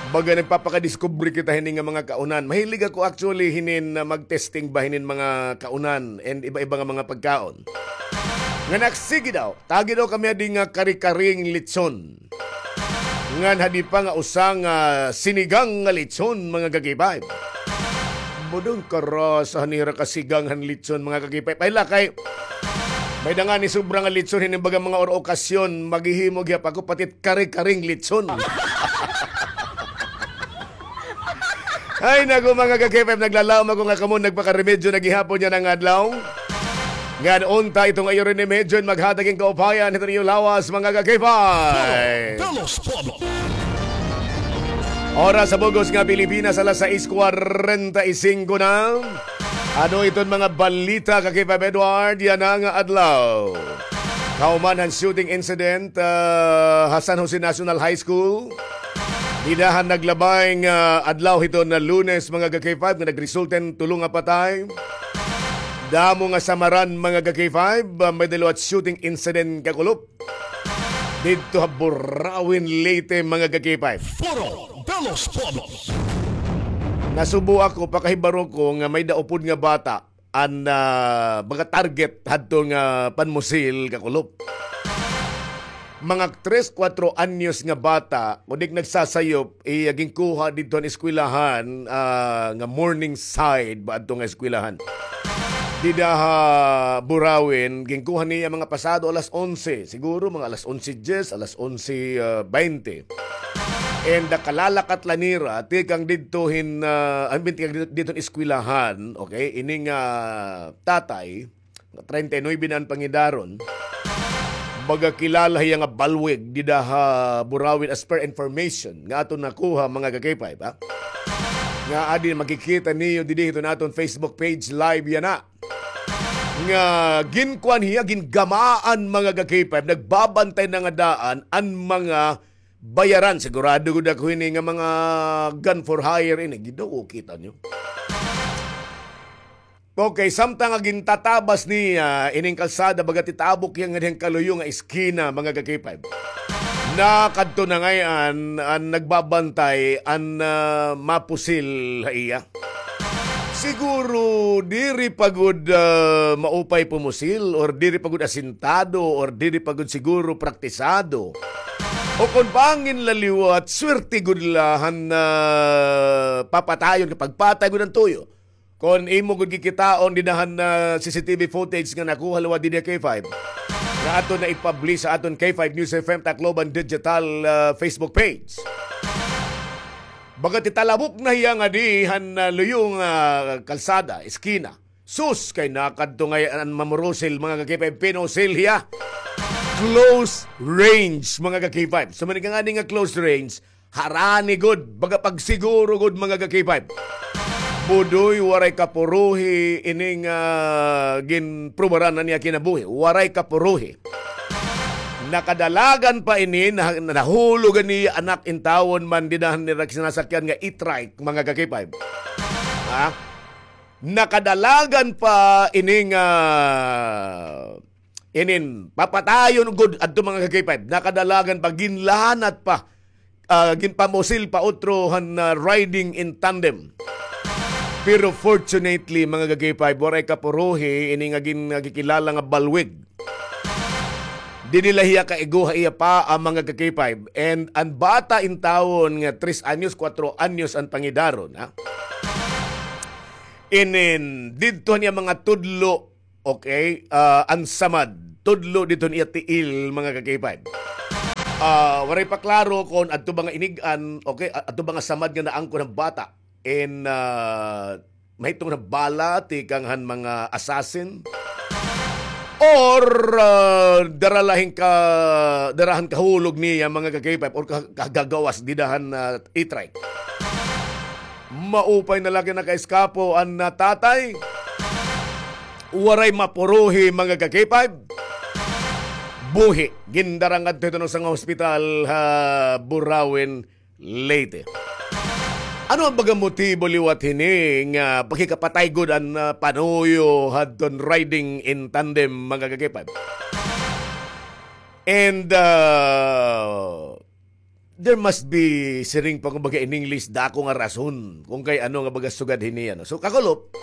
baga nagpapakadiskubre kita hini nga mga kaunan. Mahilig ako actually hinin, ah, mag-testing ba hinin mga kaunan and iba-iba nga mga pagkaon. Nga nak-, sige daw, tagi daw kami adi nga kare-kareng lechon. Ngan hadi pa nga usa nga sinigang nga lechon, mga ka-K five. Budong karasa han ira kasigang han lechon, mga ka-K five. Ay, lakay. May-da ngani sobra nga lechon, hinin baga mga or-, okasyon, maghihimo gihap ako, pati kare-kareng lechon. Ay, naku, mga ka-K five, naglalaom ako nga kamo nagpakaremedyo na gihapon yana nga adlaw. Ngan unta ito nga iyo rin medyo maghatag hin kaupayan hito niyo lawas, mga ka-K five. Oras sa bug-os nga Pilipinas, alas sais kwarenta y singko na. Ano iton mga balita, ka-K five Edward, yana nga adlaw? Kahuman han shooting incident, ah, ha San Jose National High School. Dida han naglabay nga adlaw hiton nga Lunes, mga ka-K five, nga nagresulta hin tulo nga patay. Damo nga samaran, mga ka-K five, ah, may-da liwat shooting incident, kakulop, didto ha Burauen, Leyte, mga ka-K five. Foro de los Pueblos. Nasubo ako, pakahibaro ko nga may-da upod nga bata an, ah, mga target hadto nga panmusil, kakulop. Mga tres, kuwatro anyos nga bata, kundi nagsasayop, iya ginkuha didto han eskwelahan, ah, nga Morningside ba adto nga eskwelahan. Dida ha Burauen, ginkuha niya mga pasado alas onse, siguro mga alas onse diyes, alas onse, ah, baynte. And, ah, kalalakat la nira, tikang didto hin, ah, I mean, tikang didto, didto hin eskwelahan, okay? Ini nga tatay, treinta y nuebe na an pangidaron. Baga kilala hiya nga balwig dida ha Burauen as per information nga aton nakuha, mga ka-K five, ha? Nga adi makikita niyo didi hiton aton Facebook page live yana. Nga ginkuan hiya, gingamaan, mga ka-K five, nagbabantay na nga daan an mga bayaran. Sigurado gud ako hini nga mga gun for hire ini. Ginoo, kita niyo. Okay, samtang nga gintatabas niya ining kalsada, baga titabok hiya ngadihang kaluyo nga eskina, mga ka-K five. Nakadto na ngay-an an nagbabantay, an, ah, mapusil ha iya. Siguro diri pa gud, ah, maupay pumusil, or diri pa gud asintado, or diri pa gud siguro praktisado. O kon bangin la liwat, swerte gud la han, ah, papatayon, kay pagpatay gud an tuyo. Kon imo gud kikitaon dida han, ah, C C T V footage nga nakuha liwat didi ha K five, nga aton na i-publish ha aton K five News F M Tacloban digital, ah, Facebook page. Baga titalabok na hiya ngadi han, ah, luyo nga kalsada, eskina. Sus, kay nakadto ngay-an an mamurusil, mga ka-K five, pinusil hiya. Close range, mga ka-K five. So, man ka ngani nga close range, harani gud, baga pagsiguro gud, mga ka-K five. Budoy, waray kapuruhi, ining, ah, ginprubaran na niya kinabuhi. Waray kapuruhi. Nakadalagan pa ini, na-, nahulog an iya anak intawon man dida han ira sinasakyan nga e-trike, mga ka-K five. Ha? Nakadalagan pa ining, ah, inin papatayon gud adto, mga ka-K five. Nakadalagan pa, ginlanat pa, ah, ginpamusil pa utro han, ah, riding in tandem. Pero fortunately, mga ka-K five, waray kapuruhi ini nga gin-, nga gikilala nga balwig. Diri la hiya kaigo ha iya paa, mga ka-K five. And an bata intawon nga tres anyos, kuwatro anyos an pangidaron, ha? Inin, didto niya mga tudlo, okay, ah, an samad. Tudlo didto niya tiil, mga ka-K five. Ah, waray pa klaro kon adto ba nga inig-an, okay, a-, adto ba nga samad nga naangkon han bata. In, ah, mahitungod nga bala tikang han mga assassin. Or, ah, dara la hin ka-, dara han kahulog niya, mga ka-K five, or ka-, kagagawas dida han, ah, e-trike. Maupay na la kay nakaiskapo an, ah, tatay. Waray mapuruhi, mga ka-K five. Buhi. Gindara ngadto hiton usa nga hospital ha Burauen, Leyte. Ano an baga motibo liwat hini nga pakikapatay gud an, ah, panuyo hadton riding in tandem, mga ka-K five? And, ah, there must be, siring pa kumbaga in English, dako nga rason kon kay ano nga baga sugad hini, ano. So, kakulop,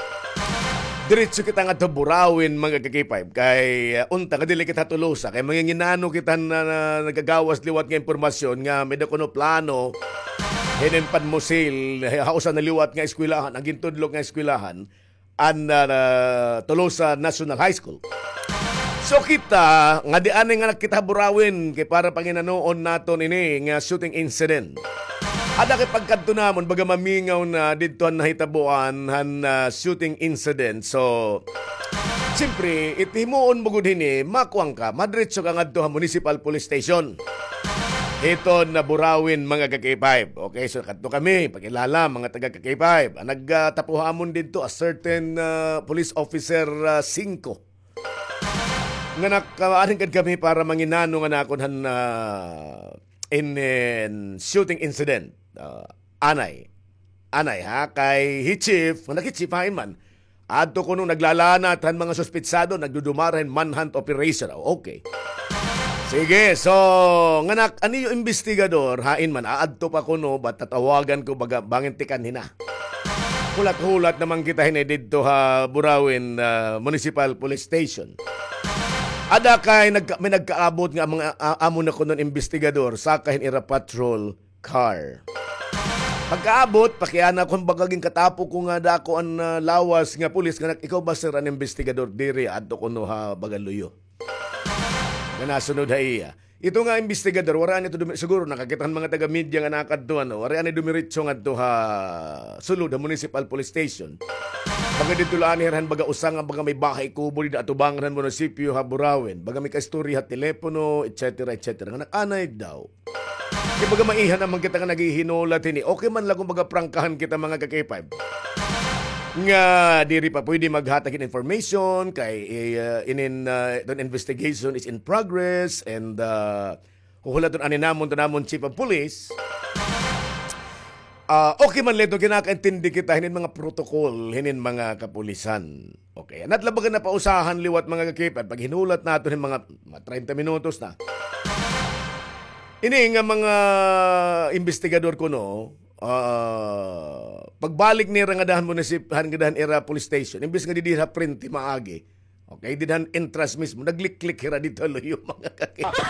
diretso kita ngadto Burauen, mga ka-K five, kay, ah, unta nga dili kita Tolosa, kay manginginano kita na, na nagagawas liwat nga impormasyon nga may-ada kuno plano hinin panmusil ha usa na liwat nga eskwelahan, an gintudlo nga eskwelahan, an, ah, Tolosa National High School. So kita, ngadi anay nga nakita Burauen, kay para panginanoon naton ini nga shooting incident. Ada kay pagkadto namon, baga mamingaw na didto han nahitaboan han, ah, shooting incident. So, siyempre, it himuon mo gud hini, makuan ka, madiretso ka ngadto ha Municipal Police Station. Hiton Burauen, mga ka-K five. Okay, so kadto kami, pakilala, mga taga-K five. An nagtapo ha amon didto, a certain, ah, police officer, ah, singko. Nga nakaanhingkad kami para manginano nga nakon han, ah, in, in shooting incident. Ah, anay. Anay, ha? Kay hi chief, nga naki-chief hain man. Adto kuno naglalanat han mga suspetsado, nagdudumara hin manhunt operation. Oh, okay. Sige, so, nganak, an iyo imbestigador, hain man, aadto pa kuno, ba tatawagan ko, baga, bangin tikang hina. Hulat-hulat naman kita hini didto ha Burauen, ah, Municipal Police Station. Ada kay nagka-, may nagkaabot nga mga, ah, amo na kuno an imbestigador, saka hin ira patrol car. Pagkaabot, pakiana ko, baga ginkatapo ko nga dako an, ah, lawas nga pulis nga nag-, "Ikaw ba, sir, an imbestigador?" "Diri, adto kuno ha baga luyo." Nga nasunod ha iya. Ito nga imbestigador, waray anay ito dumi-, siguro nakakita han mga taga-media nga nakadto, ano, waray anay dumiretso ngadto ha sulod ha Municipal Police Station. Baga didto la anay hira han baga usa nga baga may bahay kubo dida atubangan han munisipyo ha Burauen. Baga may kaistorya ha telepono, et cetera, et cetera. Nga nag-anay daw. Kay baga maiha naman kita nga naghihinulat hini. Okay man la kon baga prangkahan kita, mga ka-K five. Nga diri pa pwede maghatag hin information kay, eh, inin, ah, the investigation is in progress and, ah, huhulaton anay namon to namon chief of police. Ah, okay man la ito, kinakaintindi kita hinin mga protocol, hinin mga kapulisan. Okay, an at la baga napausahan liwat, mga ka-K five, paghinulat naton hin mga, mga treinta minutos na. Ini nga mga imbestigador kuno, ah, pagbalik nira ngada han munisip-, han ngada han ira police station, imbes nga didi ha frente maagi, okay, dida han entrance mismo, nagliklik hira didto ha luyo, mga ka-K five.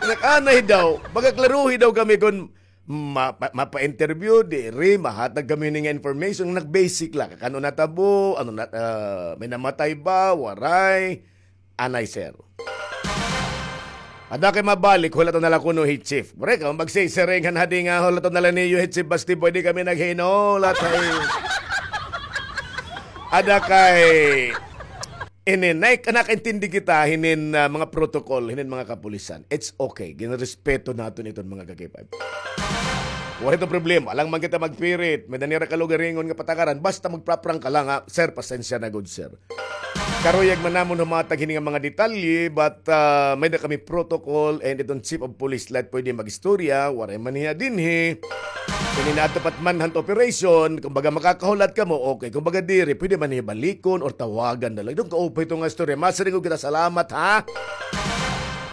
Nag-anay daw, baga klaruhi daw kami kon ma-, pa-, mapa-interview, diri, mahatag kami hini nga information, nag-basic la, kay ano natabo, ano na, ah, may namatay ba, waray, anay, sir. Ada kay mabalik, hulaton na la kuno hi chief. Pre, kamo magsisiring han hadi nga hulaton na la niyo hi chief, basta pwede kami naghinulat, hay. Ada kay Inin, nay-, nakaintindi kita hinin, ah, mga protocol, hinin mga kapulisan. It's okay. Ginrespeto naton iton, mga ka-K five. Waray iton problema. Alangan man kita magpirit. May-ada nira kalugaringon nga patakaran. Basta magpraprank ka lang, ha. Sir, pasensya na gud, sir. Karuyag man namon humatag hini nga mga detalye, but, ah, may-ada kami protocol and iton chief of police la it pwede mag-istorya, waray man hiya dinhi. Kini nato pa it manhunt operation, kumbaga makakahulat kamo, okay. Kumbaga diri, pwede man hiya balikon or tawagan na lang. Dong kaupay ito nga istorya. Masiring gud kita, salamat, ha?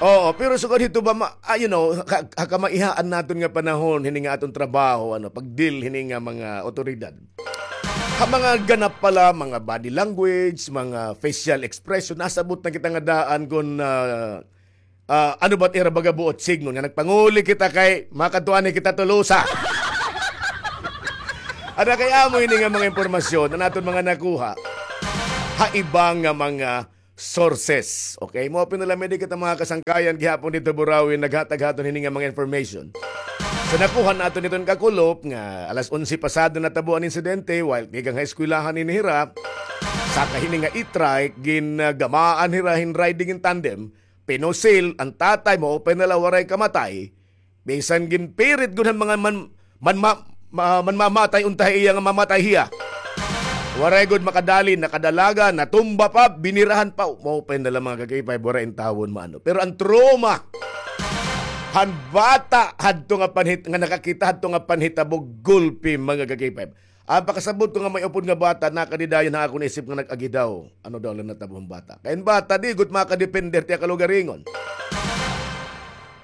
Oo, pero sugad hito ba, ma-, ah, you know, ha, ha kamaihaan naton nga panahon, hini nga aton trabaho, ano, pag-deal hini nga mga otoridad. Ha mga ganap pala, mga body language, mga facial expression, nasabot na kita nga daan kon, ah, ah, ano ba it ira baga buot signon nga nagpanguli kita kay makadto anay kita Tolosa. Ada kay amo ini nga mga impormasyon an aton mga nakuha ha iba nga mga sources. Okay? Mao pa na la, may-ada kita mga kasangkayan gihapon didto Burauen, naghatag ha aton hini nga mga information. Sa nakuha naton hiton kakulop nga alas onse pasado natabo an insidente, while tikang ha eskwelahan ini hira, saka hini nga e-trike, gingamaan hira hin riding in tandem, pinusil an tatay, maupay na la waray kamatay, bisan ginpirit gud han mga man-, man-, ma-, ma-, manmamatay unta ha iya nga mamatay hiya. Waray gud makadali, nakadalagan, natumba pa, binirahan pa. Maupay na la, mga ka-K five, waray intawon maano. Pero an trauma han bata hadto nga panhit-, nga nakakita hadto nga panhitabo, gulpi, mga ka-K five. An pakasabot ko nga may upod nga bata, nakadi dayon ha akon isip nga nag-agi daw. Ano daw la natabo han bata? Kay an bata, di gud makadepende ha iya kalugaringon.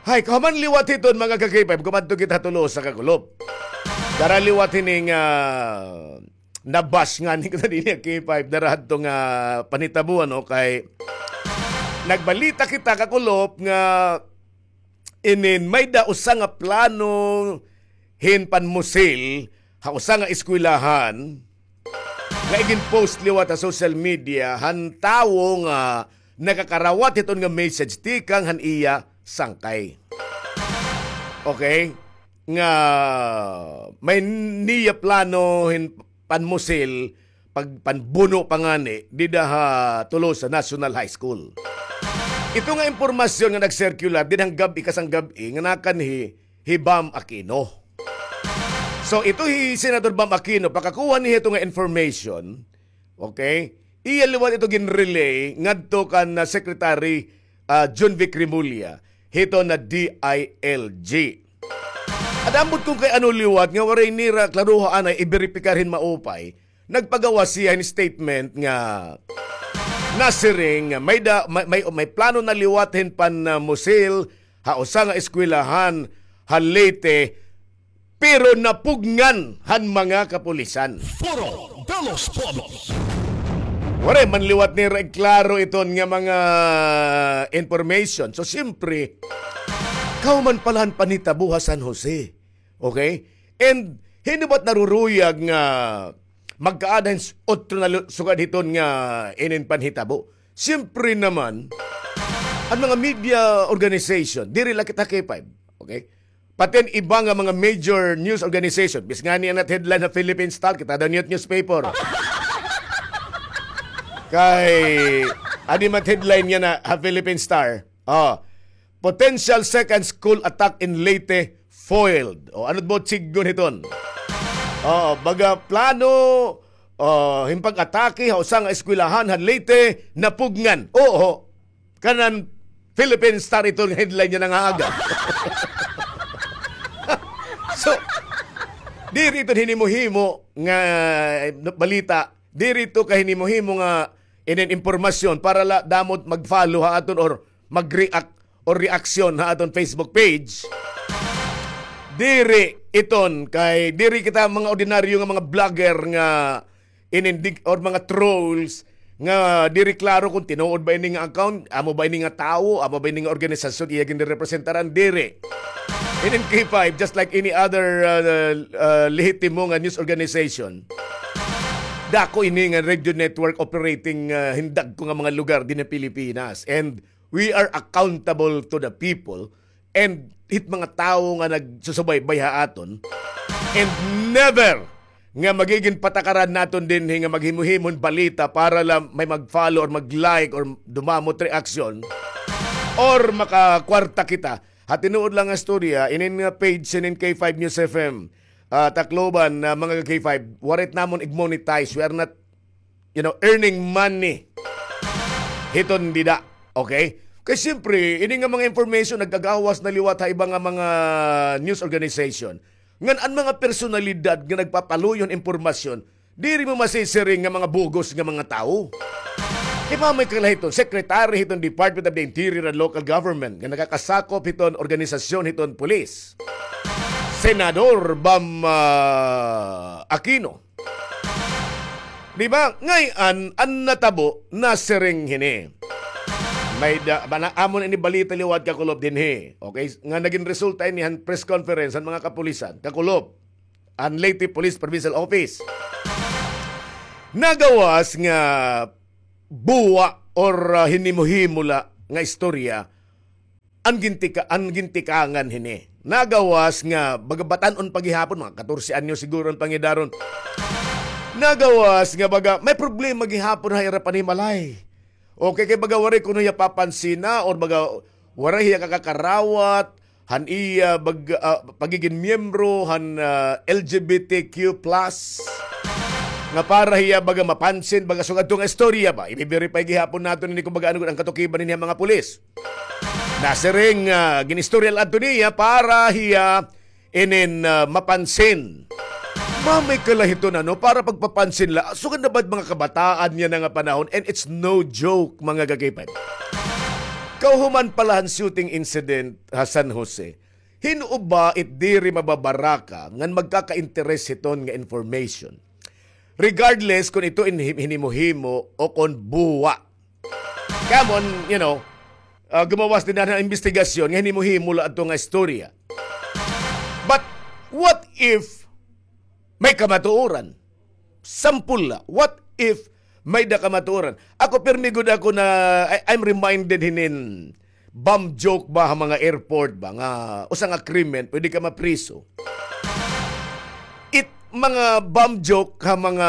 Hay, kahuman liwat hiton, mga ka-K five, kumadto kita ha Tolosa kakulop. Dara liwat hini nga, ah, na-bash ngani kita dinhi ha K five, dara hadto nga panhitabo, ano, kay nagbalita kita kakulop nga inin may-ada usa nga plano hin panmusil ha usa nga eskwelahan nga igin-post liwat ha social media han tawo nga nakakarawat hiton nga message tikang han iya sangkay. Okay? Nga may niya plano hin panmusil, pag-, panbuno pa ngani, dida ha Tolosa National High School. Ito nga impormasyon nga nag-circular, dida han gab-i, kasang gab-i, nga nakanhi hi Bam Aquino. So, ito hi Senator Bam Aquino, pakakuha niya ito nga information, okay? Iya liwat ito gin-relay ngadto kan, ah, Secretary, ah, Jonvic Remulla, hito na D I L G. At ambot kon kay ano liwat nga waray nira klaruha anay iberipikar hin maupay, nagpagawas hiya hin statement nga nasiring nga may da-, may, may, may plano na liwat hin pan, ah, musil ha usa nga eskwelahan ha Leyte, pero napugngan han mga kapulisan. Foro de los Pueblos. Waray man liwat nira iklaro iton nga mga information. So, siyempre, kahuman pala han panhitabo ha San Jose. Okay? And hin-o ba it naruruyag nga magkaada hin s-, otro na lu-, sugad hiton nga inin panhitabo? Siyempre naman, an mga media organization, diri la kita K five, okay? Pati an iba nga mga major news organization, bisan ngani an headline ha Philippine Star, kita daw niyo it newspaper. Kay, adi man it headline niya na ha Philippine Star. Oh, potential second school attack in Leyte foiled. O, ano ba it sidngon hiton? Oh, baga plano, oh, hin pag-atake ha usa nga eskwelahan ha Leyte, napugngan. Oo, kanan Philippine Star ito nga headline niya nga aga. So, diri ito hinimo-himo nga, eh, balita, diri ito kahinimo-himo nga inin impormasyon para la damo it mag-follow ha aton or mag-react or reaksyon ha aton Facebook page. Diri iton kay diri kita mga ordinaryo nga mga vlogger nga inin dig-, or mga trolls nga diri klaro kon tinuod ba ini nga account, amo ba ini nga tawo, amo ba ini nga organisasyon iya ginrepresentaran, diri. Inin K five, just like any other, uh, uh, lehitimo nga news organization, dako ini nga radio network operating, uh, hin dagko nga mga lugar dinhi ha Pilipinas. And we are accountable to the people and hit mga tawo nga nagsusubaybay ha aton. And never, nga magigin patakaran naton dinhi nga maghimo-himo hin balita para la may mag-follow or mag-like or dumamo it reaksyon or makakwarta kita. Ha tinuod la nga istorya, inin nga page, inin K five News F M, ah, Tacloban, ah, mga K five, waray it namon ig-monetize. We are not, you know, earning money hiton dida. Okay? Kay siyempre, ini nga mga information nagkagawas na liwat ha iba nga mga news organization. Ngan an mga personalidad nga nagpapaluyo hin impormasyon, diri mo masisiring nga mga bugos nga mga tawo. Kay mamay kala hiton, secretary hiton Department of the Interior and Local Government nga nakakasakop hiton organisasyon hiton pulis. Senador Bam, ah, Aquino. Di ba? Ngay-an, an natabo, nasiring hini. May da, bana, amon ini balita liwat, kakulop, dinhi. Okay? Nga nagin resulta ini han press conference han mga kapulisan. Kakulop, an Leyte Police Provincial Office. Nagawas nga buwa or, ah, hinimo-himo la nga istorya an gintika-, an gintikangan hini. Nagawas nga baga batan-on pa gihapon, mga katorse anyos siguro an pangidaron. Nagawas nga baga may problema gihapon ha ira panimalay. Okay, kay baga waray kuno hiya papansina or baga waray hiya kakakarawat han iya bag-, ah, pagigin miyembro han, ah, L G B T Q plus, nga para hiya baga mapansin, baga sugad to nga istorya ba. Ibi-verify gihapon naton ini kung baga ano gud an katukiban hini han mga pulis. Nasiring, ah, gin-istorya la adto niya para hiya inin, ah, mapansin. Mamay kala hiton, ano, para pagpapansin la. Sugad na ba mga kabataan niyan nga panahon? And it's no joke, mga ka-K five. Kahuman pa la han shooting incident ha San Jose, hin-o ba it diri mababaraka ngan magkaka-interes hiton nga information? Regardless kon ito in-, hinimo-himo o kon buwa. Kay amon, you know, ah, gumawas dinhi han imbestigasyon nga hinimo-himo la adto nga istorya. But what if may kamatuoran? Sampol la, what if may-da kamatuoran? Ako, pirmi gud ako na, I, I'm reminded hinin bum joke ba ha mga airport ba, nga usa nga krimen, pwede ka mapriso. It mga bum joke ha mga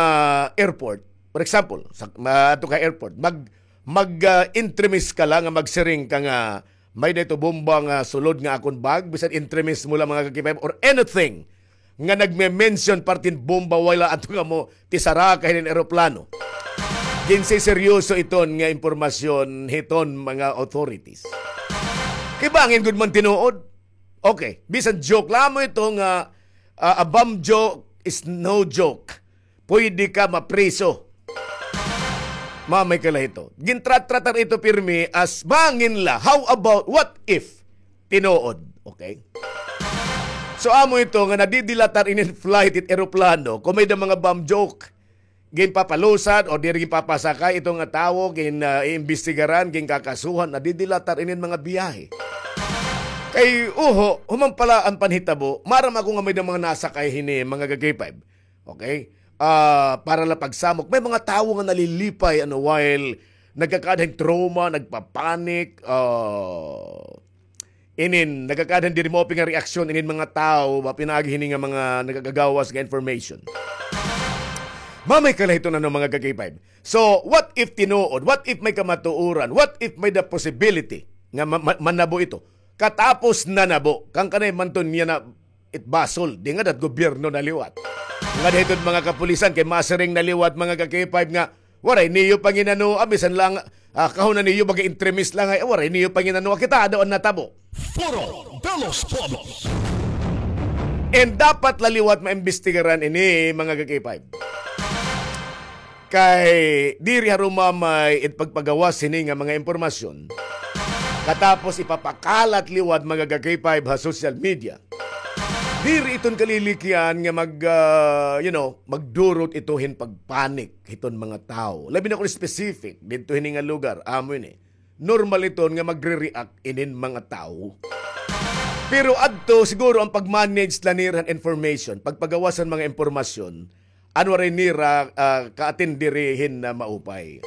airport. For example, sa, ma-, ato ka airport, mag, mag, ah, entremis ka la nga magsiring ka nga may-da ito bomba nga sulod nga akon bag, bisan entremis mo la, mga ka-K five, or anything nga nagme-mention parte hin bomba, wala ato nga mo, tisara ka hinin eroplano. Ginsiseryoso iton nga impormasyon hiton mga authorities. Kay bangin gud man tinuod. Okay, bisan joke la mo ito nga, ah, a bum joke is no joke. Pwede ka mapriso. Mamay ka la ito. Gintratratar ito pirmi as bangin la. How about, what if tinuod? Okay? So, amo ito nga nadidilatar inin flight it eroplano, kon may-da mga bum joke. Ginpapalusad o diri ginpapasakay ito nga tawo, gin, ah, iimbestigaran, ginkakasuhan, nadidilatar inin mga biyahe. Kay, uho, human pa la an panhitabo, maaram ako nga may-da mga nasakay hini, mga ka-K five. Okay? Ah, para la pagsamok. May mga tawo nga nalilipay, ano, while nagkakaada hin trauma, nagpapanik, ah, inin, nagkakaada hin diri maupay nga reaksyon inin mga tawo, ba, pinaagi hini nga mga nagakagawas nga information. Mamay ka la hiton, ano, mga ka-K five. So, what if tinuod? What if may kamatuoran? What if may-da possibility nga ma-, ma-, manabo ito? Katapos nanabo, kang kanay man to niya na it basol, di ngada it gobyerno na liwat. Ngada hiton mga kapulisan, kay masiring na liwat, mga ka-K five, nga waray niyo panginanoa, bisan la, ah, kahuna niyo, baga entremis la nga, eh, waray niyo panginanoa, kita daw an natabo. Foro de los Pueblos. And dapat la liwat maimbestigaran ini, mga ka-K five. Kay diri harumamay it pagpagawas hini nga mga impormasyon. Katapos ipapakalat liwat, mga ka-K five, ha social media. Diri iton kalilikyan nga mag, ah, you know, magdurot ito hin pagpanik hiton mga tawo. Labi na kon specific, didto hini nga lugar, amo ini. Normal iton nga magre-react inin mga tawo. Pero adto, siguro an pag-manage la nira han information, pagpagawas han mga impormasyon, an waray nira, ah, ka-attend diri hin, ah, maupay.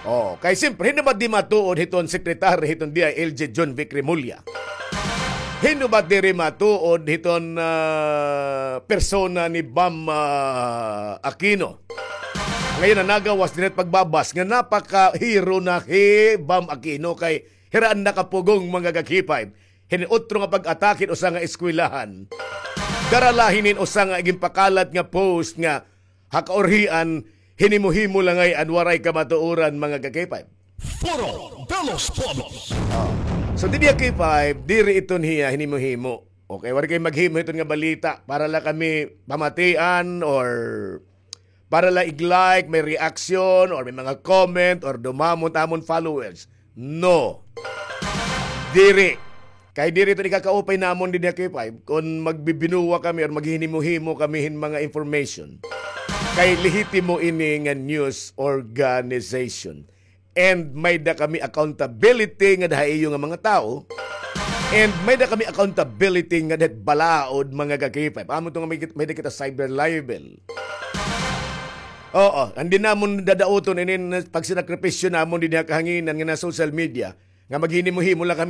Oh, kay siyempre, hin naman di matuod hiton secretary hiton D I L G, John Vic Remulla. Hin-o ba diri matuod hiton, ah, persona ni Bam, ah, Aquino? Ngayon, nanagawas dinhi it pagbabas nga napakahero na hi Bam Aquino kay hira an nakapugong, mga ka-K five. Hin utro nga pag-atake hin usa nga eskwelahan. Dara la hinin usa nga ginpakalat nga post nga ha kaurhian, hinimo-himo la ngay-an waray kamatuoran, mga ka-K five. Foro de los Pueblos. Ah. So, dinhi ha K five, diri iton hiya hinimo-himo. Okay, waray kay maghimo hiton nga balita para la kami pamatian or para la ig-like, may reaction, or may mga comment, or dumamon ta amon followers. No. Diri. Kay diri iton ikakaupay namon dinhi ha K five kon magbibinuwa kami or maghinimo-himo kami hin mga information. Kay lehitimo ini nga news organization. And may-ada kami accountability ngada ha iyo nga mga tawo. And may-ada kami accountability ngada ha balaod, mga ka-K five. Amo to nga may, may-ada kita cyber libel. Oo, hindi namon dadauton inin pagsinakripisyo namon dinhi ha kahanginan nga na social media nga maghinimo-himo la kami